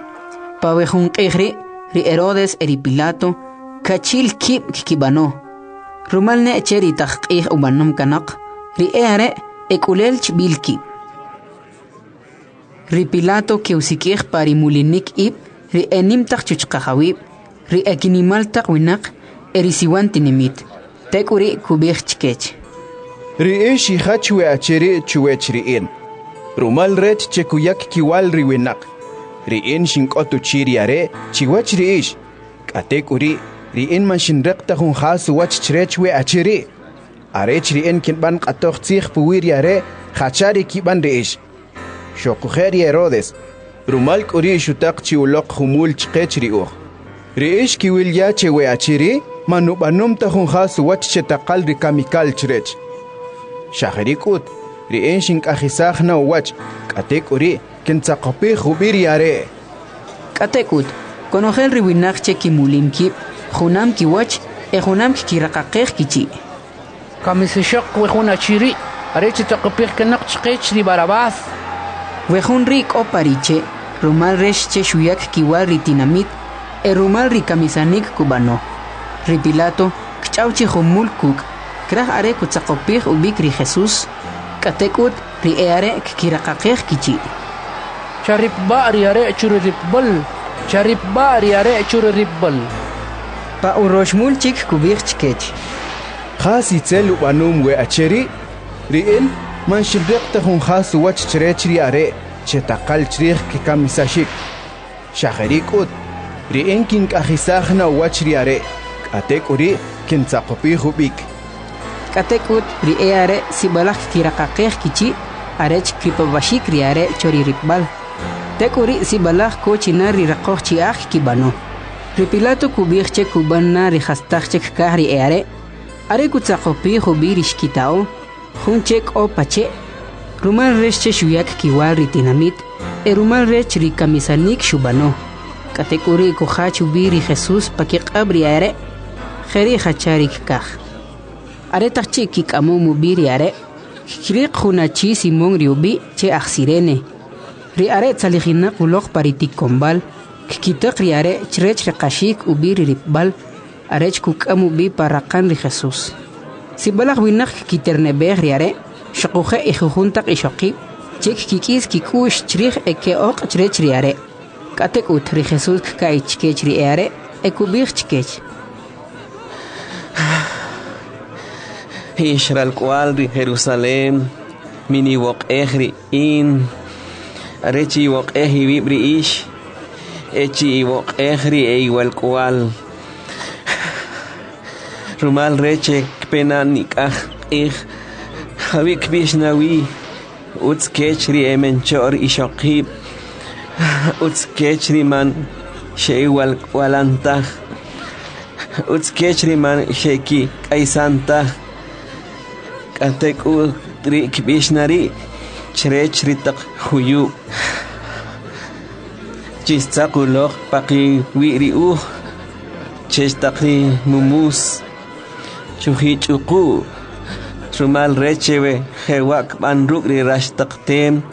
Pa we jun q'ij ri', ri Herodes e ri Pilato kachi'l kib' kkib'ano. Rumal ne che ri taq q'ij ub'anom kanoq, ri e'are' ek'ulel chb'il kib'. Ri Pilato ke'usik'ij pa ri mulinik ib' ri enim taq chuchqajawib', ri ekinimal taq winaq e ri siwan tinimit. Tek'uri' kub'ij chkech: Ri ix xijach we achi ri' chuwach ri in, rumal rech che kuyak kiwal ri winaq. Ri in xink'ot uchi' ri are' chiwach ri ix. K'atek'uri', ri in man xinriq ta jun jas uwach chrech we achi ri'. Arech ri in kinb'an q'atoj tzij puwi' ri are' jacha ri kib'an ri ix. Xoquje' ri Herodes, rumal k'u ri' xutaq chi uloq jumul chqech ri uj. Ri ix kiwil ya che we achi ri' man ub'anom ta jun jas uwach che taqal ri kamikal chrech. Xa jeri' k'ut, ri in xink'ajisaj na uwach, k'atek'uri' kintzaqopij ub'i ri are'. K'atek'ut, konojel ri winaq che kimulim kib' junam kiwach e junam kkiraqaqej kichi'. Kamisaxoq we jun achi ri', are chitzaqopij kanoq chqech ri Barabás. We jun ri' k'o pa ri che', rumal rech che xuyak kiwal ri tinamit e rumal ri kamisanik kub'ano. Ri Pilato kch'aw chi jumul kuk', kraj are kutzaqopij ub'ik ri Jesús, k'atek'ut ri e'are' kkiraqaqej kichi'. Charipb'a' ri are' chu ri ripb'al, charipb'a' ri are' chu ri ripb'al. Pa uroxmul chik kub'ij chkech: Jas itzel ub'anom we achi ri'? Ri in man xinriq ta jun jas uwach chrech ri are' che taqal chrij kikamisaxik. Xa jeri' k'ut, ri in kink'ajisaj na uwach ri are', k'atek'uri' kintzaqopij ub'ik. K'atek'ut ri e'are' sib'alaj kkiraqaqej kichi' arech kripab'axik ri are' cho ri ripb'al. Tek'uri' sib'alaj ko china ri raqoj chi'aj kkib'ano. Ri Pilato kub'ij che kub'an na ri jastaq che kkaj ri e'are', are kutzaqopij ub'i ri xkita'o, jun che k'o pa che', rumal rech che xuyak kiwal ri tinamit e rumal rech ri kamisanik xub'ano. K'atek'uri' kujach ub'i ri Jesús pa kiq'ab' ri are', jeri' jacha ri kkaj. Aretaq chi' kik'amom ub'i ri are', kkiriq jun achi Simón ri ub'i' che aj Sirene. Ri are' tzalijinaq uloq pa ri tikonb'al, kkitaq ri are' chrech reqaxik ub'i ri ripb'al, arech kuk'am ub'i pa raqan ri Jesús. Sib'alaj winaq kkiterneb'ej ri are', xoquje' ejujun taq ixoqib' che kkik'is kik'u'x chrij e ke'oq' chrech ri are'. K'atek'ut ri Jesús kka'y chkech ri e'are' e kub'ij chkech: Ix ralk'wal ri Jerusalem, miniwoq'ej ri in, are chi iwoq'ej iwib' ri ix, e chi iwoq'ej ri eiwalk'wal. Rumal rech che kpe na nik'aj q'ij, jawi' kb'ix na wi, utz kech ri emencho'r ixoqib', utz kech ri man xe'iwalk'walan taj, utz kech ri man xe'kik'aysan taj. K'atek'ut ri kb'ix na ri' chrech ri taq juyub'. Chixtzaq uloq paqiwi' ri uj, chech taq ri mumus, chujich'uqu', rumal rech che we jewa' kb'an ruk' ri rax taq tem,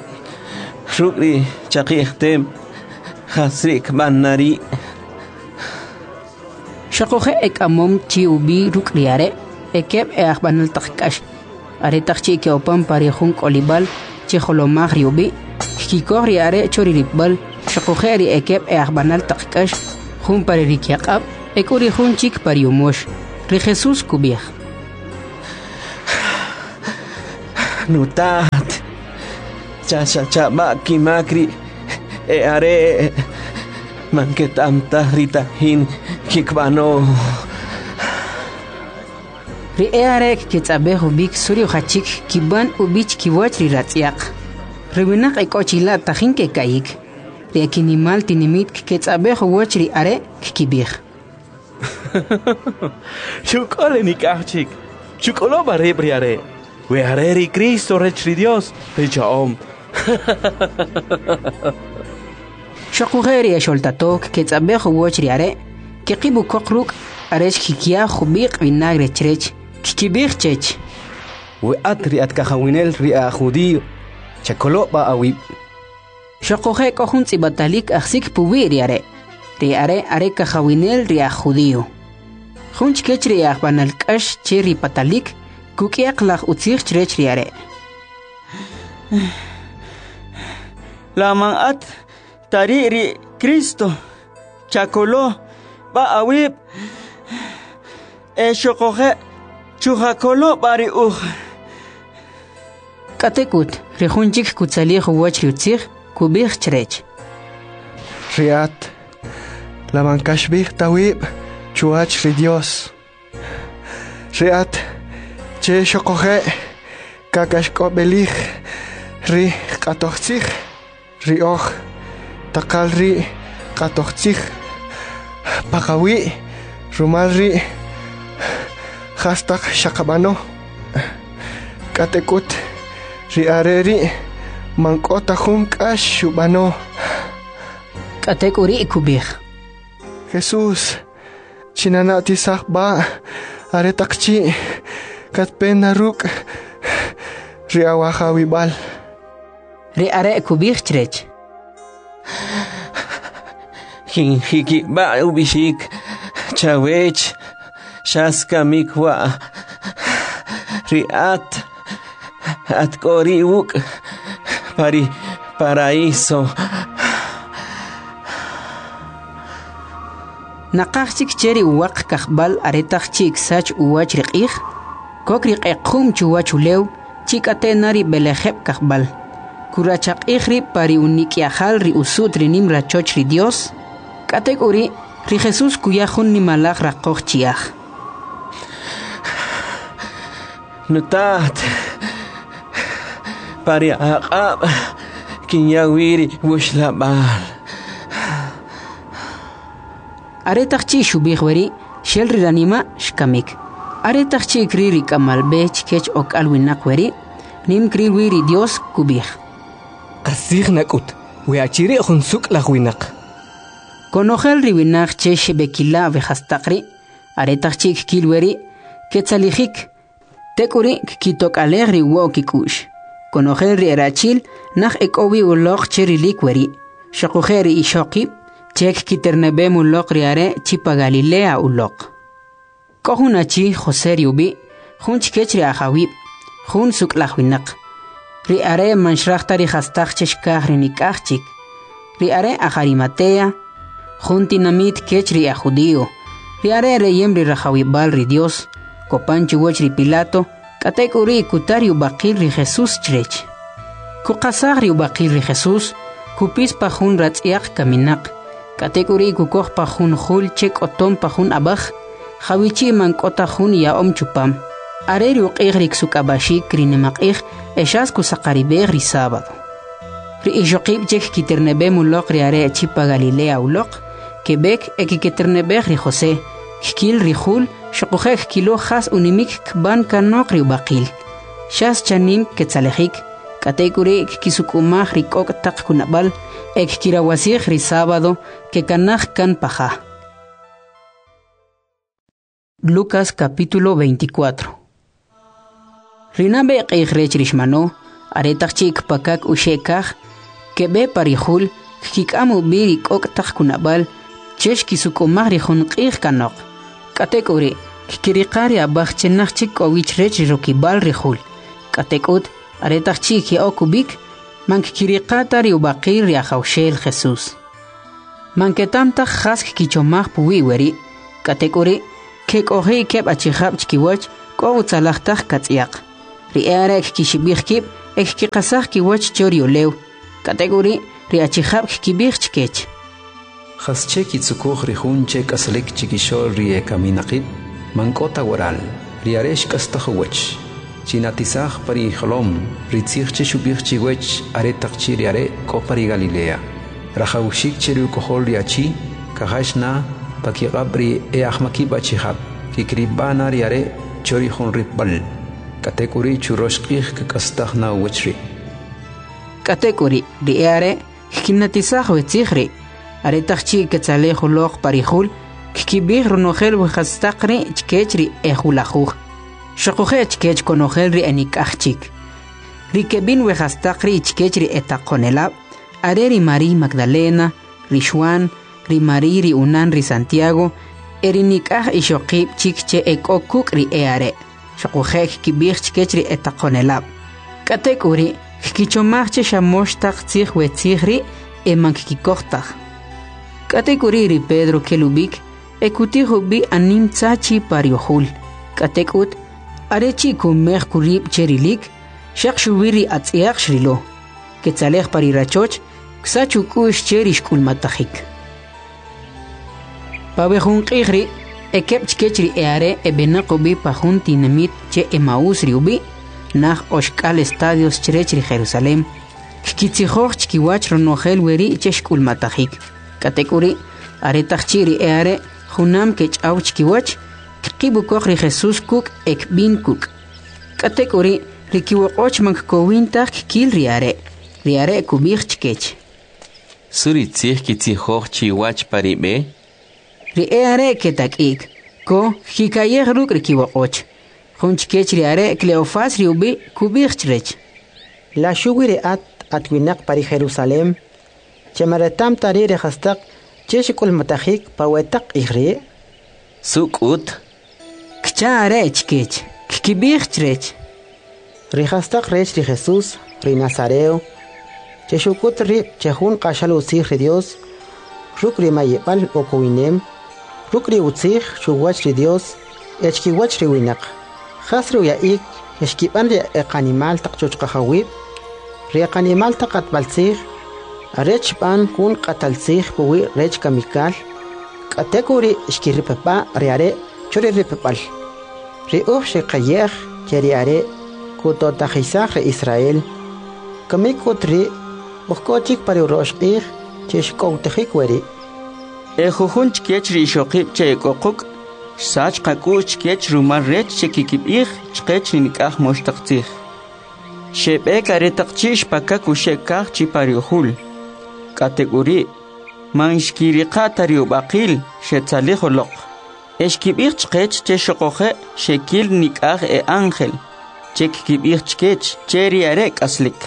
ruk' ri chaqi'j tem, jas ri' kb'an na ri'. Xoquje' ek'amom chi ub'i ruk' ri are' ekeb' e'ajb'anal taq k'ax. Aretaq chi' ke'opan pa ri jun k'olib'al che jolomaj ri ub'i', kkikoj ri are' cho ri ripb'al, xoquje' ri ekeb' e'ajb'anal taq k'ax, jun pa ri rikyaq'ab' e k'u ri jun chik pa ri umox. Ri Jesús kub'ij: Nutat, chasacha' kimak ri e'are', man keta'm taj ri tajin kikb'ano. Ri e'are' kketz'ab'ej ub'ik su ri ujachik kib'an ub'i chkiwach ri ratz'yaq. Ri winaq ek'o chila' tajin keka'yik. Ri ekinimal tinimit kketz'ab'ej uwach ri are', kkib'ij: Xuk'ol enik'aj chik, chuk'olo b'a rib' ri are', we are ri Cristo rech ri Dios, ri cha'om. Xoquje' ri exoltato kketz'ab'ej uwach ri are', keqib' ukoq ruk' arech kkiya jub'iq' vinagre chrech. Kkib'ij chech: We at ri at kajawinel ri aj judío, chakolo' b'a awib'. Xoquje' k'o jun tz'ib'atalik ajsik puwi' ri are'. Ri are' are kajawinel ri aj judío. Jun chkech ri e'ajb'anal k'ax che ri patalik, kuk'yaq laj utzij chrech ri are'. La man at ta ri' ri Cristo, chakolo b'a awib' e xoquje' chujakolo b'a ri uj. K'atek'ut, ri jun chik kutzalij uwach ri utzij, kub'ij chrech: Ri at, la man kaxib'ij ta awib' chuwach ri Dios. Ri at, che xoquje' kak'axk'ob'elij ri q'atojtzij, ri oj taqal ri q'atojtzij paqawi' rumal ri jastaq xaqab'ano. K'atek'ut, ri are' ri' man k'o ta jun k'ax xub'ano. K'atek'uri' kub'ij: Jesús, chinana'tisaj b'a' aretaq chi' katpe na ruk' ri awajawib'al. Ri are' kub'ij chrech: Kinjikib'a' ub'ixik chawech, xas kamik wa' ri at, at k'o ri' wuk' pa ri paraíso. Naqaj chik che ri uwaq kajb'al aretaq chi' ksach uwach ri q'ij, kok ri q'equm chuwach ulew, chi k'ate' na ri b'elejeb' kajb'al. Kurachaq'ij rib' pa ri unik'yajal ri usu't ri nim rachoch ri Dios. K'atek'uri', ri Jesús kuya jun nimalaj raqoj chi'aj. Nutat, pa ri aq'ab' kinya wi ri wuxlab'al. Aretaq chi' xub'ij weri', xel ri ranima' xkamik. Aretaq chi' kril ri k'amal b'e chkech ok'al winaq weri', nim kril wi ri Dios, kub'ij: Qastzij nak'ut, we achi ri' jun suk' laj winaq. Konojel ri winaq che xeb'ekila' we jastaq ri', aretaq chi' kkil weri', ketzalijik. Tek'uri' kkitok'alej ri uwo kik'u'x. Konojel ri erachil naj ek'o wi uloq che rilik weri'. Xoquje' ri ixoqib' che kkiterneb'em uloq ri are' chi pa Galilea uloq. K'o jun achi, José ri ub'i', jun chkech ri ajawib', jun suk'laj winaq. Ri are' man xraj ta ri jastaq che xkaj ri nik'aj chik. Ri are' aj Arimatea, jun tinamit kech ri aj judío. Ri are' reyem ri rajawib'al ri Dios, kopan chuwach ri Pilato, k'atek'uri' kuta ri ub'aqil ri Jesús chrech. Kuqasaj ri ub'aqil ri Jesús, kupis pa jun ratz'yaq kaminaq, k'atek'uri' kukoj pa jun jul che k'otom pa jun ab'aj, jawichi' man k'o ta jun ya'om chupam. Are ri uq'ij ri ksuk'ab'axik ri nimaq'ij e xas kusaqarib'ej ri sábado. Ri ixoqib' che kkiterneb'em uloq ri are' chi pa Galilea uloq, keb'ek e kkiterneb'ej ri José, kkil ri jul, xoquje' kkilo jas unimik kb'an kanoq ri ub'aqil. Xas chanim ketzalejik, k'atek'uri' kkisuk'umaj ri k'ok' taq kunab'al e kkirawasij ri sábado kekanaj kan pa ja. Lucas capítulo 24. Ri nab'e q'ij rech ri xmano, aretaq chi' kpakak uxe' kaj, keb'e pa ri jul, kkik'am ub'i ri k'ok' taq kunab'al che xkisuk'umaj ri jun q'ij kanoq. K'atek'uri', kkiriqa ri ab'aj che naj chik k'o wi chrech ri rokib'al ri jul. K'atek'ut, aretaq chi' ke'ok ub'ik, man kkiriqa ta ri ub'aqil ri Ajawxel Jesús. Man keta'm taj jas kkichomaj puwi' weri', k'atek'uri', kek'oji' keb' achijab' chkiwach k'o utzalaj taq katz'yaq. Ri e'are' kkixib'ij kib' e kkiqasaj kiwach cho ri ulew. K'atek'uri', ri achijab' kkib'ij chkech: Jasche kitzukuj ri jun che k'aslik chikixo'l ri ekaminaqib'? Man k'o ta waral, ri are' xk'astaj uwach. Chinatisaj pa ri ijolom ri tzij che xub'ij chiwech aretaq chi' ri are' k'o pa ri Galilea. Rajawaxik che ri uk'ojol ri achi kajach na pa kiq'ab' ri e'ajmakib' achijab', kikirib'a na ri are' cho ri jun ripb'al, k'atek'uri' churox q'ij kak'astaj na uwach ri'. K'atek'uri', ri e'are' kkinatisaj we tzij ri'. Aretaq chi' ketzalej uloq pa ri jul, kkib'ij ronojel we jastaq ri' chkech ri ejulajuj, xuquje' chkech konojel ri enik'aj chik. Ri keb'in we jastaq ri' chkech ri etaqonelab' are ri Mariy Magdalena, ri Xwan, ri Mariy ri unan ri Santiago e ri nik'aj ixoqib' chik che ek'o kuk' ri e'are', xuquje' kkib'ij chkech ri etaqonelab'. K'atek'uri', kkichomaj che xa mox taq tzij we tzij ri' e man kkikoj taj. K'atek'uri' ri Pedro kel ub'ik e kutij ub'i anim tza chi pa ri ujul. K'atek'ut, are chi' kumej kurib' che rilik, xaq xuwi ri atz'yaq xrilo. Ketzalej pa ri rachoch, ksach uk'u'x che ri xk'ulmatajik. Pa we jun q'ij ri', ekeb' chkech ri e'are' eb'enaq ub'i pa jun tinamit che Emaús ri ub'i', naj oxk'al estadios chrech ri Jerusalem, kkitzijoj chkiwach ronojel weri' che xk'ulmatajik. K'atek'uri', aretaq chi' ri e'are' junam kech'aw chkiwach, kqib' ukoq ri Jesús kuk' e kb'in kuk'. K'atek'uri', ri kiwoq'och man kkowin taj kkil ri are'. Ri are' kub'ij chkech: Su ri tzij kitzijoj chiwach pa ri b'e? Ri e'are' ketak'i'k, ko kkika'yej ruk' ri kiwoq'och. Jun chkech ri are' Cleofas ri ub'i' kub'ij chrech: La xuwi ri at atwinaq pa ri Jerusalem, che man reta'm ta ri' ri jastaq che xk'ulmatajik pa we taq q'ij ri'? Su k'ut? Kcha are' chkech. Kkib'ij chrech: Ri jastaq rech ri Jesús, ri Nazareo, che xuk'ut rib' che jun q'axal utzij ri Dios, ruk' ri mayib'al ukowinem, ruk' ri utzij chuwach ri Dios e chkiwach ri winaq. Jas ri uya'ik xkib'an ri eqanimal taq chuchqajawib', ri eqanimal taq q'atb'altzij, arech xb'an jun q'ataltzij puwi' rech kamikal, k'atek'uri' xkiripab'a' ri are' cho ri ripb'al. Ri uj xeqaye'j che ri are' kuto'tajisaj ri Israel. Kamik k'ut ri' uj k'o chik pa ri urox q'ij che xk'owtajik weri'. E jujun chkech ri ixoqib' che ek'o quk' xsach qak'u'x chkech rumal rech che kikib'ij chqech ri nik'aj mox taq tzij. Xeb'ek aretaq chi' xpakak uxe' kaj chi pa ri ujul. K'atek'uri', man xkiriqa' ta ri ub'aqil, xetzalij uloq. E xkib'ij chqech che xuquje' xekil nik'aj e ángel, che kkib'ij chkech che ri are' k'aslik.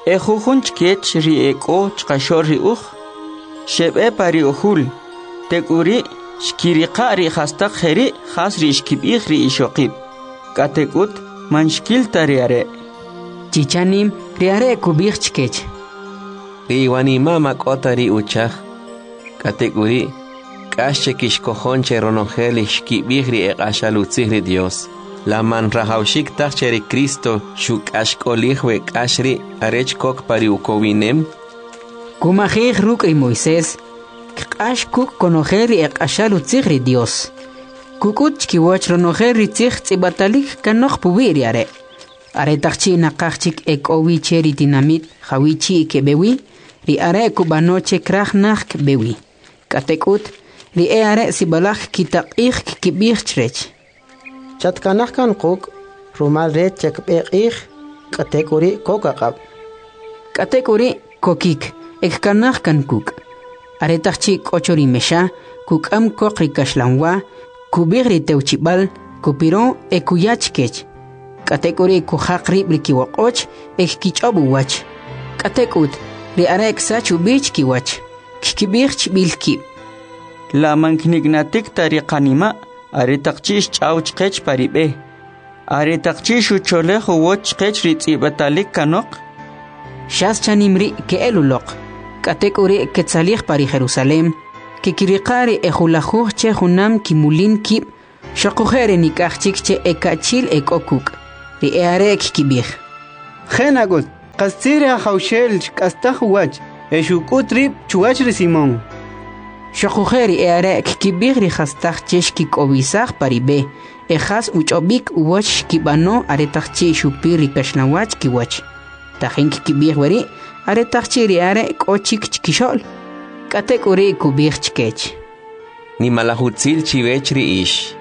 E jujun chkech ri ek'o chqaxo'l ri uj, xeb'e pa ri ujul, tek'uri' xkiriqa' ri jastaq jeri' jas ri xkib'ij ri ixoqib'. K'atek'ut man xkil ta ri are'. Chichanim, ri are' kub'ij chkech: Ri iwanima' ma k'o ta ri uchaj. K'atek'uri', k'ax che kixkojon che ronojel ri xkib'ij ri eq'axal utzij ri Dios. La man rajawaxik taj che ri Cristo xuk'axk'olij we k'ax ri' arech kok pa ri ukowinem? Kumajij ruk' ri Moisés, kq'ax kuk' konojel ri eq'axal utzij ri Dios. Kuk'ut chkiwach ronojel ri tzij tz'ib'atalik kanoq puwi' ri are'. Aretaq chi' naqaj chik ek'o wi che ri tinamit jawi chi' keb'e wi, ri are' kub'ano che kraj naj kb'e wi. K'atek'ut, ri e'are' sib'alaj kkitaq'ij kkib'ij chrech: Chatkanaj kan quk', rumal rech che kb'e q'ij, k'atek'uri' kok aq'ab'. K'atek'uri' kokik e kkanaj kan kuk'. Aretaq chi' k'o cho ri mexa, kuk'am koq ri kaxlanwa, kub'ij ri tewchib'al, kupiro e kuya chkech. K'atek'uri' kujaq rib' ri kiwoq'och e kkich'ob' uwach. K'atek'ut, ri are' ksach ub'i chkiwach. Kkib'ij chb'il kib': La man kniknatik ta ri qanima' aretaq chi' xch'aw chqech pa ri b'e, aretaq chi' xucholej uwach chqech ri tz'ib'atalik kanoq? Xas chanim ri' ke'el uloq. K'atek'uri' ketzalij pa ri Jerusalem, kekiriqa' ri ejulajuj che junam kimulin kib', xoquje' ri nik'aj chik che eka'chil ek'o kuk'. Ri e'are' kkib'ij: Je' nak'ut, qastzij ri Ajawxel xk'astaj uwach e xuk'ut rib' chuwach ri Simón. Xoquje' ri e'are' kkib'ij ri jastaq che xkik'owisaj pa ri b'e e jas uch'ob'ik uwach xkib'ano aretaq chi' xupir ri kaxlanwa chkiwach. Tajin kkib'ij weri' aretaq chi' ri are' k'o chik chkixo'l. K'atek'uri' kub'ij chkech: Nimalaj utzil chiwech ri ix.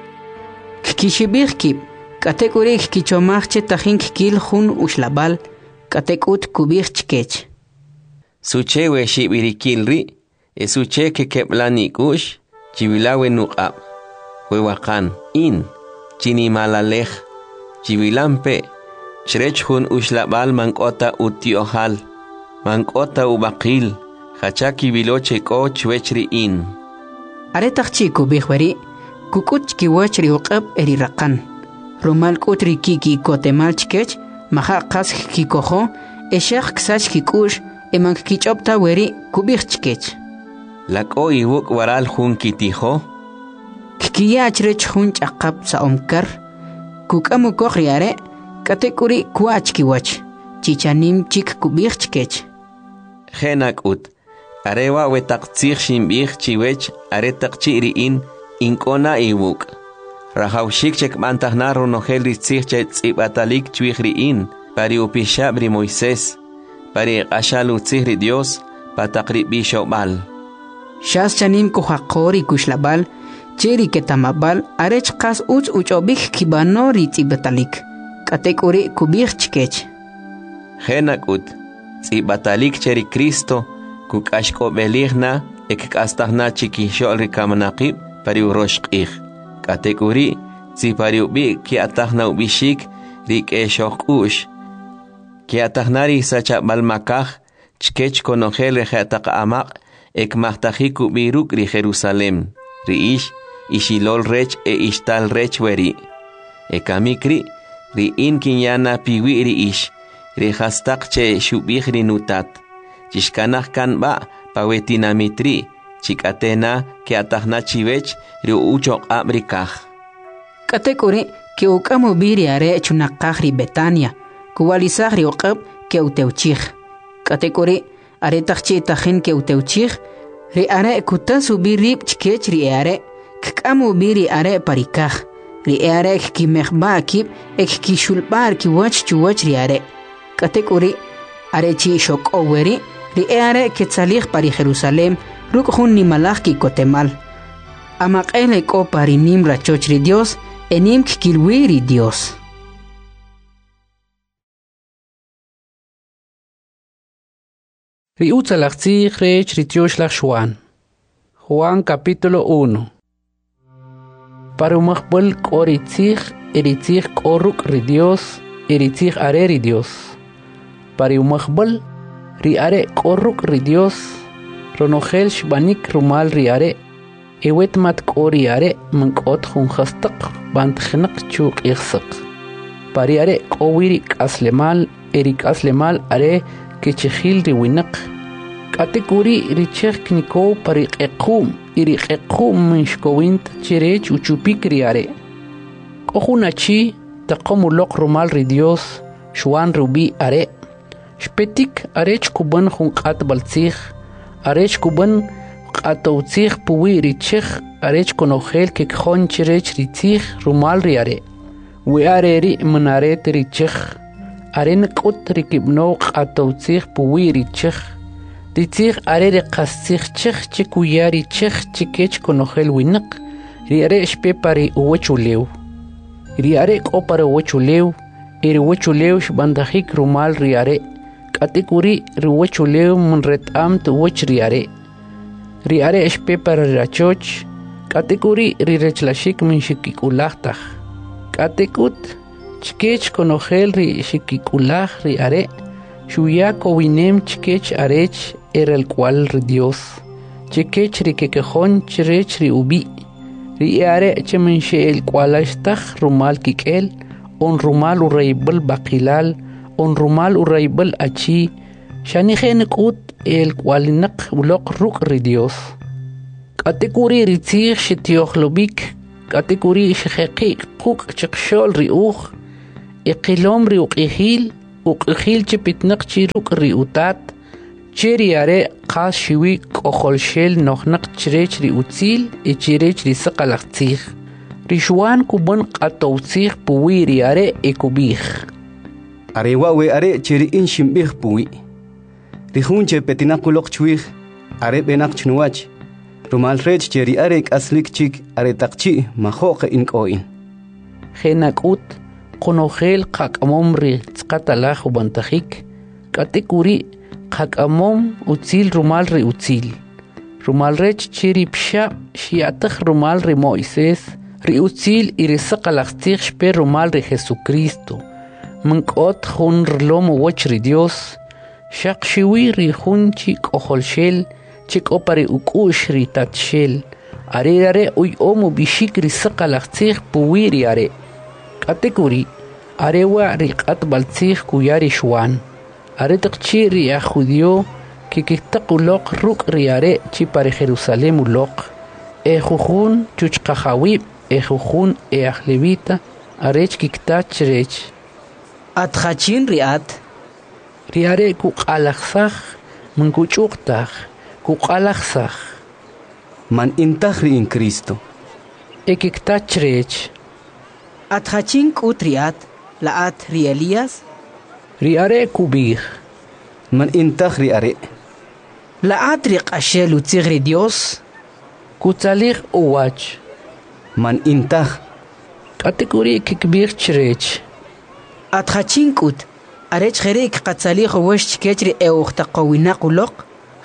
Kkixib'ij kib', k'atek'uri' kkichomaj che tajin kkil jun uxlab'al, k'atek'ut kub'ij chkech: Suche we xib'irikil ri' e suche kekeb'lan ik'u'x? Chiwila we nuq'ab', we waqan, in, chinimalalej, chiwilampe', chrech jun uxlab'al man k'o ta utyo'jal, man k'o ta ub'aqil, jacha kiwilo che k'o chwech ri in. Aretaq chi' kub'ij weri', kuk'ut chkiwach ri uq'ab' e ri raqan. Rumal k'ut ri ki'kikotemal chkech, maja' qas kkikojo e xaq ksach kik'u'x e man kkich'ob' ta weri' kub'ij chkech: La k'o iwuk' waral jun kitijo? Kkiya chrech jun ch'aqap sa'om kar, kuk'am ukoq ri are', k'atek'uri' kwa' chkiwach. Chi chanim chik kub'ij chkech: Je' nak'ut, are wa' we taq tzij xinb'ij chiwech aretaq chi' ri in, in k'o na iwuk'. Rajawxik che kb'antaj na ronojel ri tzij che tz'ib'atalik chwij ri in, pa ri upixab' ri Moisés, pa ri q'axal utzij ri Dios, pa taq ri b'ixob'al. Xas chanim kujaqo ri kuxlab'al che ri keta'mab'al arech qas utz uch'ob'ik kib'ano ri tz'ib'atalik. K'atek'uri' kub'ij chkech: Je' nak'ut, tz'ib'atalik che ri Cristo kuk'axk'ob'elij na e kk'astaj na chikixo'l ri kaminaqib' pa ri urox q'ij. K'atek'uri' tzi pa ri ub'i' kya'taj na ub'ixik ri k'exoj k'u'x, kya'taj na ri sachab'al makaj chkech konojel ri je'taq amaq' e kmajtajik ub'i ruk' ri Jerusalem. Ri ix, ixilol rech e ixtal rech weri'. E kamik ri', ri in kinya na piwi' ri ix, ri jastaq che xub'ij ri nutat. Chixkanaj kan b'a' pa we tinamit ri', chik'ate na kya'taj na chiwech ri uchoq'ab' ri kaj. K'atek'uri' ke'uk'am ub'i ri are' chunaqaj ri Betania, kuwa'lisaj ri uq'ab' ke'utewchij. K'atek'uri' aretaq chi' tajin ke'utewchij, ri are' kutas ub'i rib' chkech ri e'are', kk'am ub'i ri are' pa ri kaj. Ri e'are' kkimejb'a' kib' e kkixulb'a' kiwach chuwach ri are'. K'atek'uri', are chi' xok'ow weri', ri e'are' ketzalij pa ri Jerusalem ruk' jun nimalaj ki'kotemal. Amaq'el ek'o pa ri nim rachoch ri Dios e nim kkil wi ri Dios. Ri utzalaj tzij rech ri Tyoxlaj Xuan. Juan capítulo 1. Para umajb'al k'o ri tzij, e ri tzij k'o ruk' ri Dios, e ri tzij are ri Dios. Para umajb'al, ri are' k'o ruk' ri Dios, ronojel xb'anik rumal ri are', e wet mat k'o ri are' man k'ot jun jastaq b'antjinaq chu q'ij saq. Pa ri are' k'o wi ri k'aslemal, e ri k'aslemal are kechijil ri winaq. K'atek'uri' ri chej knikow pa ri q'equ'm y ri q'equ'm man xkowin ta chrech uchupik ri are'. K'o jun achi taqom uloq rumal ri Dios, Xuan rub'i' are'. Xpetik arech kub'an jun q'atb'al tzij, arech kub'an q'atow tzij puwi' ri chej arech konojel kekjon chrech ri tzij rumal ri are'. We are ri' man are ta ri chej, are nak'ut ri kib'anow q'atow tzij puwi' ri chej. Ri tzij are ri qastzij chej che kuya ri chej chikech konojel winaq, ri are' xpe pa ri uwachulew. Ri are' k'o pa ri uwachulew, e ri uwachulew xb'antajik rumal ri are', k'atek'uri' ri uwachulew man reta'm ta uwach ri are'. Ri are' xpe pa ri rachoch, k'atek'uri' ri rechlaxik man xikik'ulaj taj. K'atek'ut, chkech konojel ri xikik'ulaj ri are', xuya kowinem chkech arech eralk'wa'l ri Dios, chkech ri kekejon chrech ri ub'i', ri e'are' che man xe'elk'wa'lax taj rumal kik'el, on rumal urayb'al b'aqilal, on rumal urayb'al achi, Xane je' nak'ut e'alk'uwa'linaq uloq ruk' ri Dyos. K'atek'uri' ri Tzij xtyo'jlob'ik, k'atek'uri' xjeqi' quk' chqaxo'l ri uj, e qilom ri uq'ijil, uq'ijil che petinaq chi ruk' ri Utat, che ri are' qas xuwi k'ojolxel nojnaq chrech ri utzil e chrech ri saqalaj tzij. Ri Xwan kub'an q'atowtzij puwi' ri are' e kub'ij: Are wa' we are' che ri in xinb'ij puwi'. Ri jun che petinaq uloq chwij, are b'enaq chnuwach, rumal rech che ri are' k'aslik chik aretaq chi' majo'q in k'o in. Je' nak'ut, qonojel qak'amom ri tz'aqatalaj ub'antajik, k'atek'uri' qak'amom utzil rumal ri utzil. Rumal rech che ri Pixab' xya'taj rumal ri Mo'ises, ri utzil y ri saqalaj tzij xpe rumal ri Jesucristo. Man k'ot jun rilom uwach ri Dios, xaq xiwi ri jun chi k'ojolxel che k'o pa ri uk'u'x ri Tatxel, are are' uya'om ub'ixik ri saqalaj tzij puwi' ri are'. K'atek'uri', are wa' ri q'atb'al tzij kuya ri Xwan. Aretaq chi' ri aj judío kikitaq uloq ruk' ri are' chi pa ri Jerusalem uloq, e jujun chuchqajawib' e jujun e aj levita, arech kikta chrech: At jachin ri at? Ri are' kuq'alajsaj, man kuch'uq taj, kuq'alajsaj: Man in taj ri in Cristo. E kikta chrech: At jachin k'ut ri at? La at ri Elías? Ri are' kub'ij: Man in taj ri are'. La at ri q'axel utzij ri Dios? Kutzalij uwach: Man in taj. K'atek'uri' kikb'ij chrech: At jachin k'ut, arech jeri' kqatzalij uwach chkech ri e'ujtaqowinaq uloq?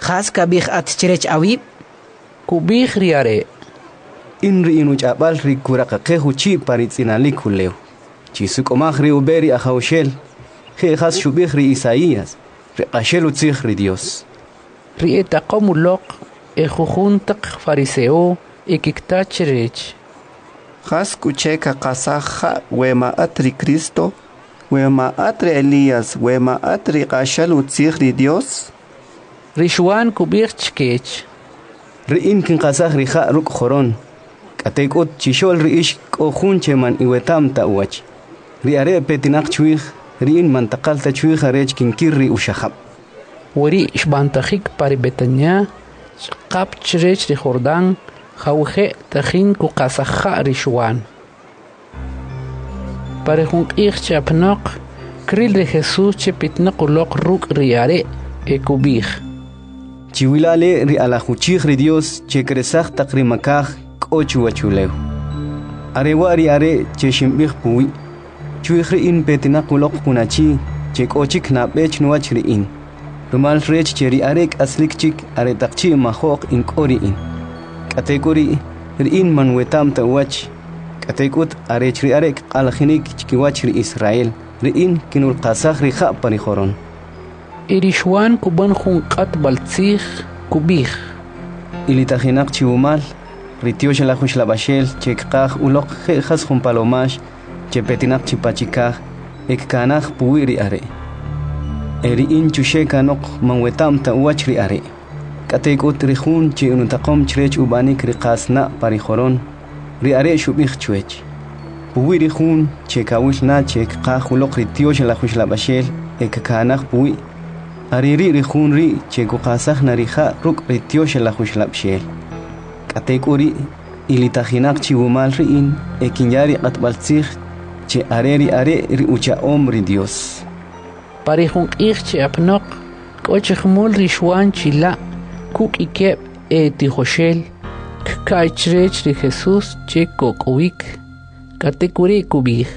Jas kab'ij at chrech awib'? Kub'ij ri are': In ri inuch'ab'al ri kuraqaqej uchi' pa ri tz'inalik ulew. Chisuk'umaj ri ub'e ri Ajawxel, je' jas xub'ij ri Isaías, ri q'axel utzij ri Dios. Ri etaqom uloq e jujun taq fariseo e kikta chrech: Jas k'u che kaqasaj ja' we ma at ri Cristo, we ma at ri Elías, we ma at ri q'axal utzij ri Dios? Ri Xwan kub'ij chkech: Ri in kinqasaj ri ja' ruk' joron, k'atek'ut chixo'l ri ix k'o jun che man iweta'm ta uwach. Ri are' petinaq chwij, ri in man taqal ta chwij arech kinkir ri uxajab'. Weri' xb'antajik pa ri Betania, ch'aqap chrech ri Jordán, jawije' tajin kuqasaj ja' ri Xwan. Pa ri jun q'ij che apanoq, kril ri Jesús che petinaq uloq ruk' ri are' e kub'ij: Chiwila' le' ri alaj uchij ri Dios che kresaj taq ri makaj k'o chuwachulew. Are wa' ri are' che xinb'ij puwi'. Chwij ri in petinaq uloq jun achi che k'o chik nab'e chnuwach ri in, rumal rech che ri are' k'aslik chik aretaq chi' majo'q in k'o ri in. K'atek'uri', ri in man weta'm ta uwach, k'atek'ut arech ri are' kq'alajinik chkiwach ri Israel, ri in kinulqasaj ri ja' pa ri joron. E ri Xwan kub'an jun q'atb'al tzij, kub'ij: Ilitajinaq chiwumal, ri Tyoxalaj Uxlab'axel che kqaj uloq je' jas jun palomax che petinaq chi pachikaj e kkanaj puwi' ri are'. E ri in chuxe' kanoq man weta'm ta uwach ri are'. K'atek'ut ri jun che inutaqom chrech ub'anik ri qasna' pa ri joron, ri are' xub'ij chwech: Puwi' ri jun che kawil na che kqaj uloq ri Tyoxalaj Uxlab'axel e kkanaj puwi', are ri' ri jun ri' che kuqasaj na ri ja' ruk' ri Tyoxalaj Uxlab'xel. K'atek'uri', ilitajinaq chiwumal ri in e kinya ri q'atb'al tzij che are ri are' ri ucha'om ri Dios. Pa ri jun q'ij che apanoq, k'o chi jumul ri Xwan chila' kuk' ikeb' e tijoxel, kka'y chrech ri Jesús che kok'owik, k'atek'uri' kub'ij: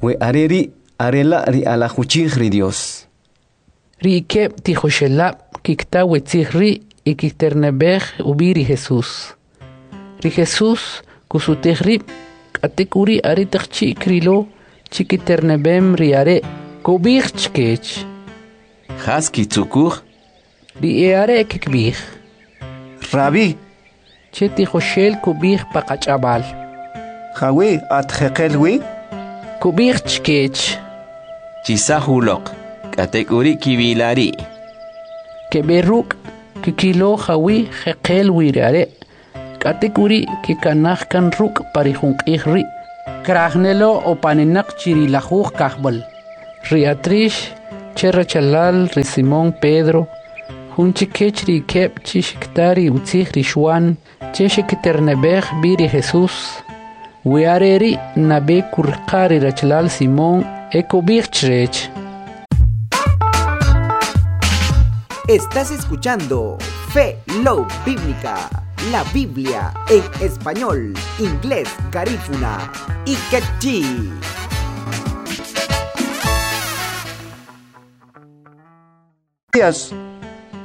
We are ri' are la' ri alaj uchij ri Dios. Ri ikeb' tijoxelab' kikta we tzij ri' e kikiterneb'ej ub'i ri Jesús. Ri Jesús kusutij rib', k'atek'uri' aretaq chi' krilo che kiterneb'em ri are', kub'ij chkech: Jas kitzukuj? Ri e'are' kikb'ij: Rabí, che tijoxel kub'ij pa qach'ab'al. Jawi' at jeqel wi? Kub'ij chkech: Chisaj uloq, k'atek'uri' kiwila ri'. Keb'e ruk', kkilo jawi' jeqel wi ri are', k'atek'uri' kekanaj kan ruk' pa ri jun q'ij ri'. Kraj nelo opaninaq chi ri lajuj kajb'al. Ri Atrix, che rachalal ri Simón Pedro, jun chikech ri keb' chi xikta ri utzij ri Xwan che xikiterneb'ej b'i ri Jesús. We are ri' nab'e kuriqa' ri rachalal Simón e kub'ij chrech: Estás escuchando Fe Love Bíblica, la Biblia en español, inglés, garífuna y quechí.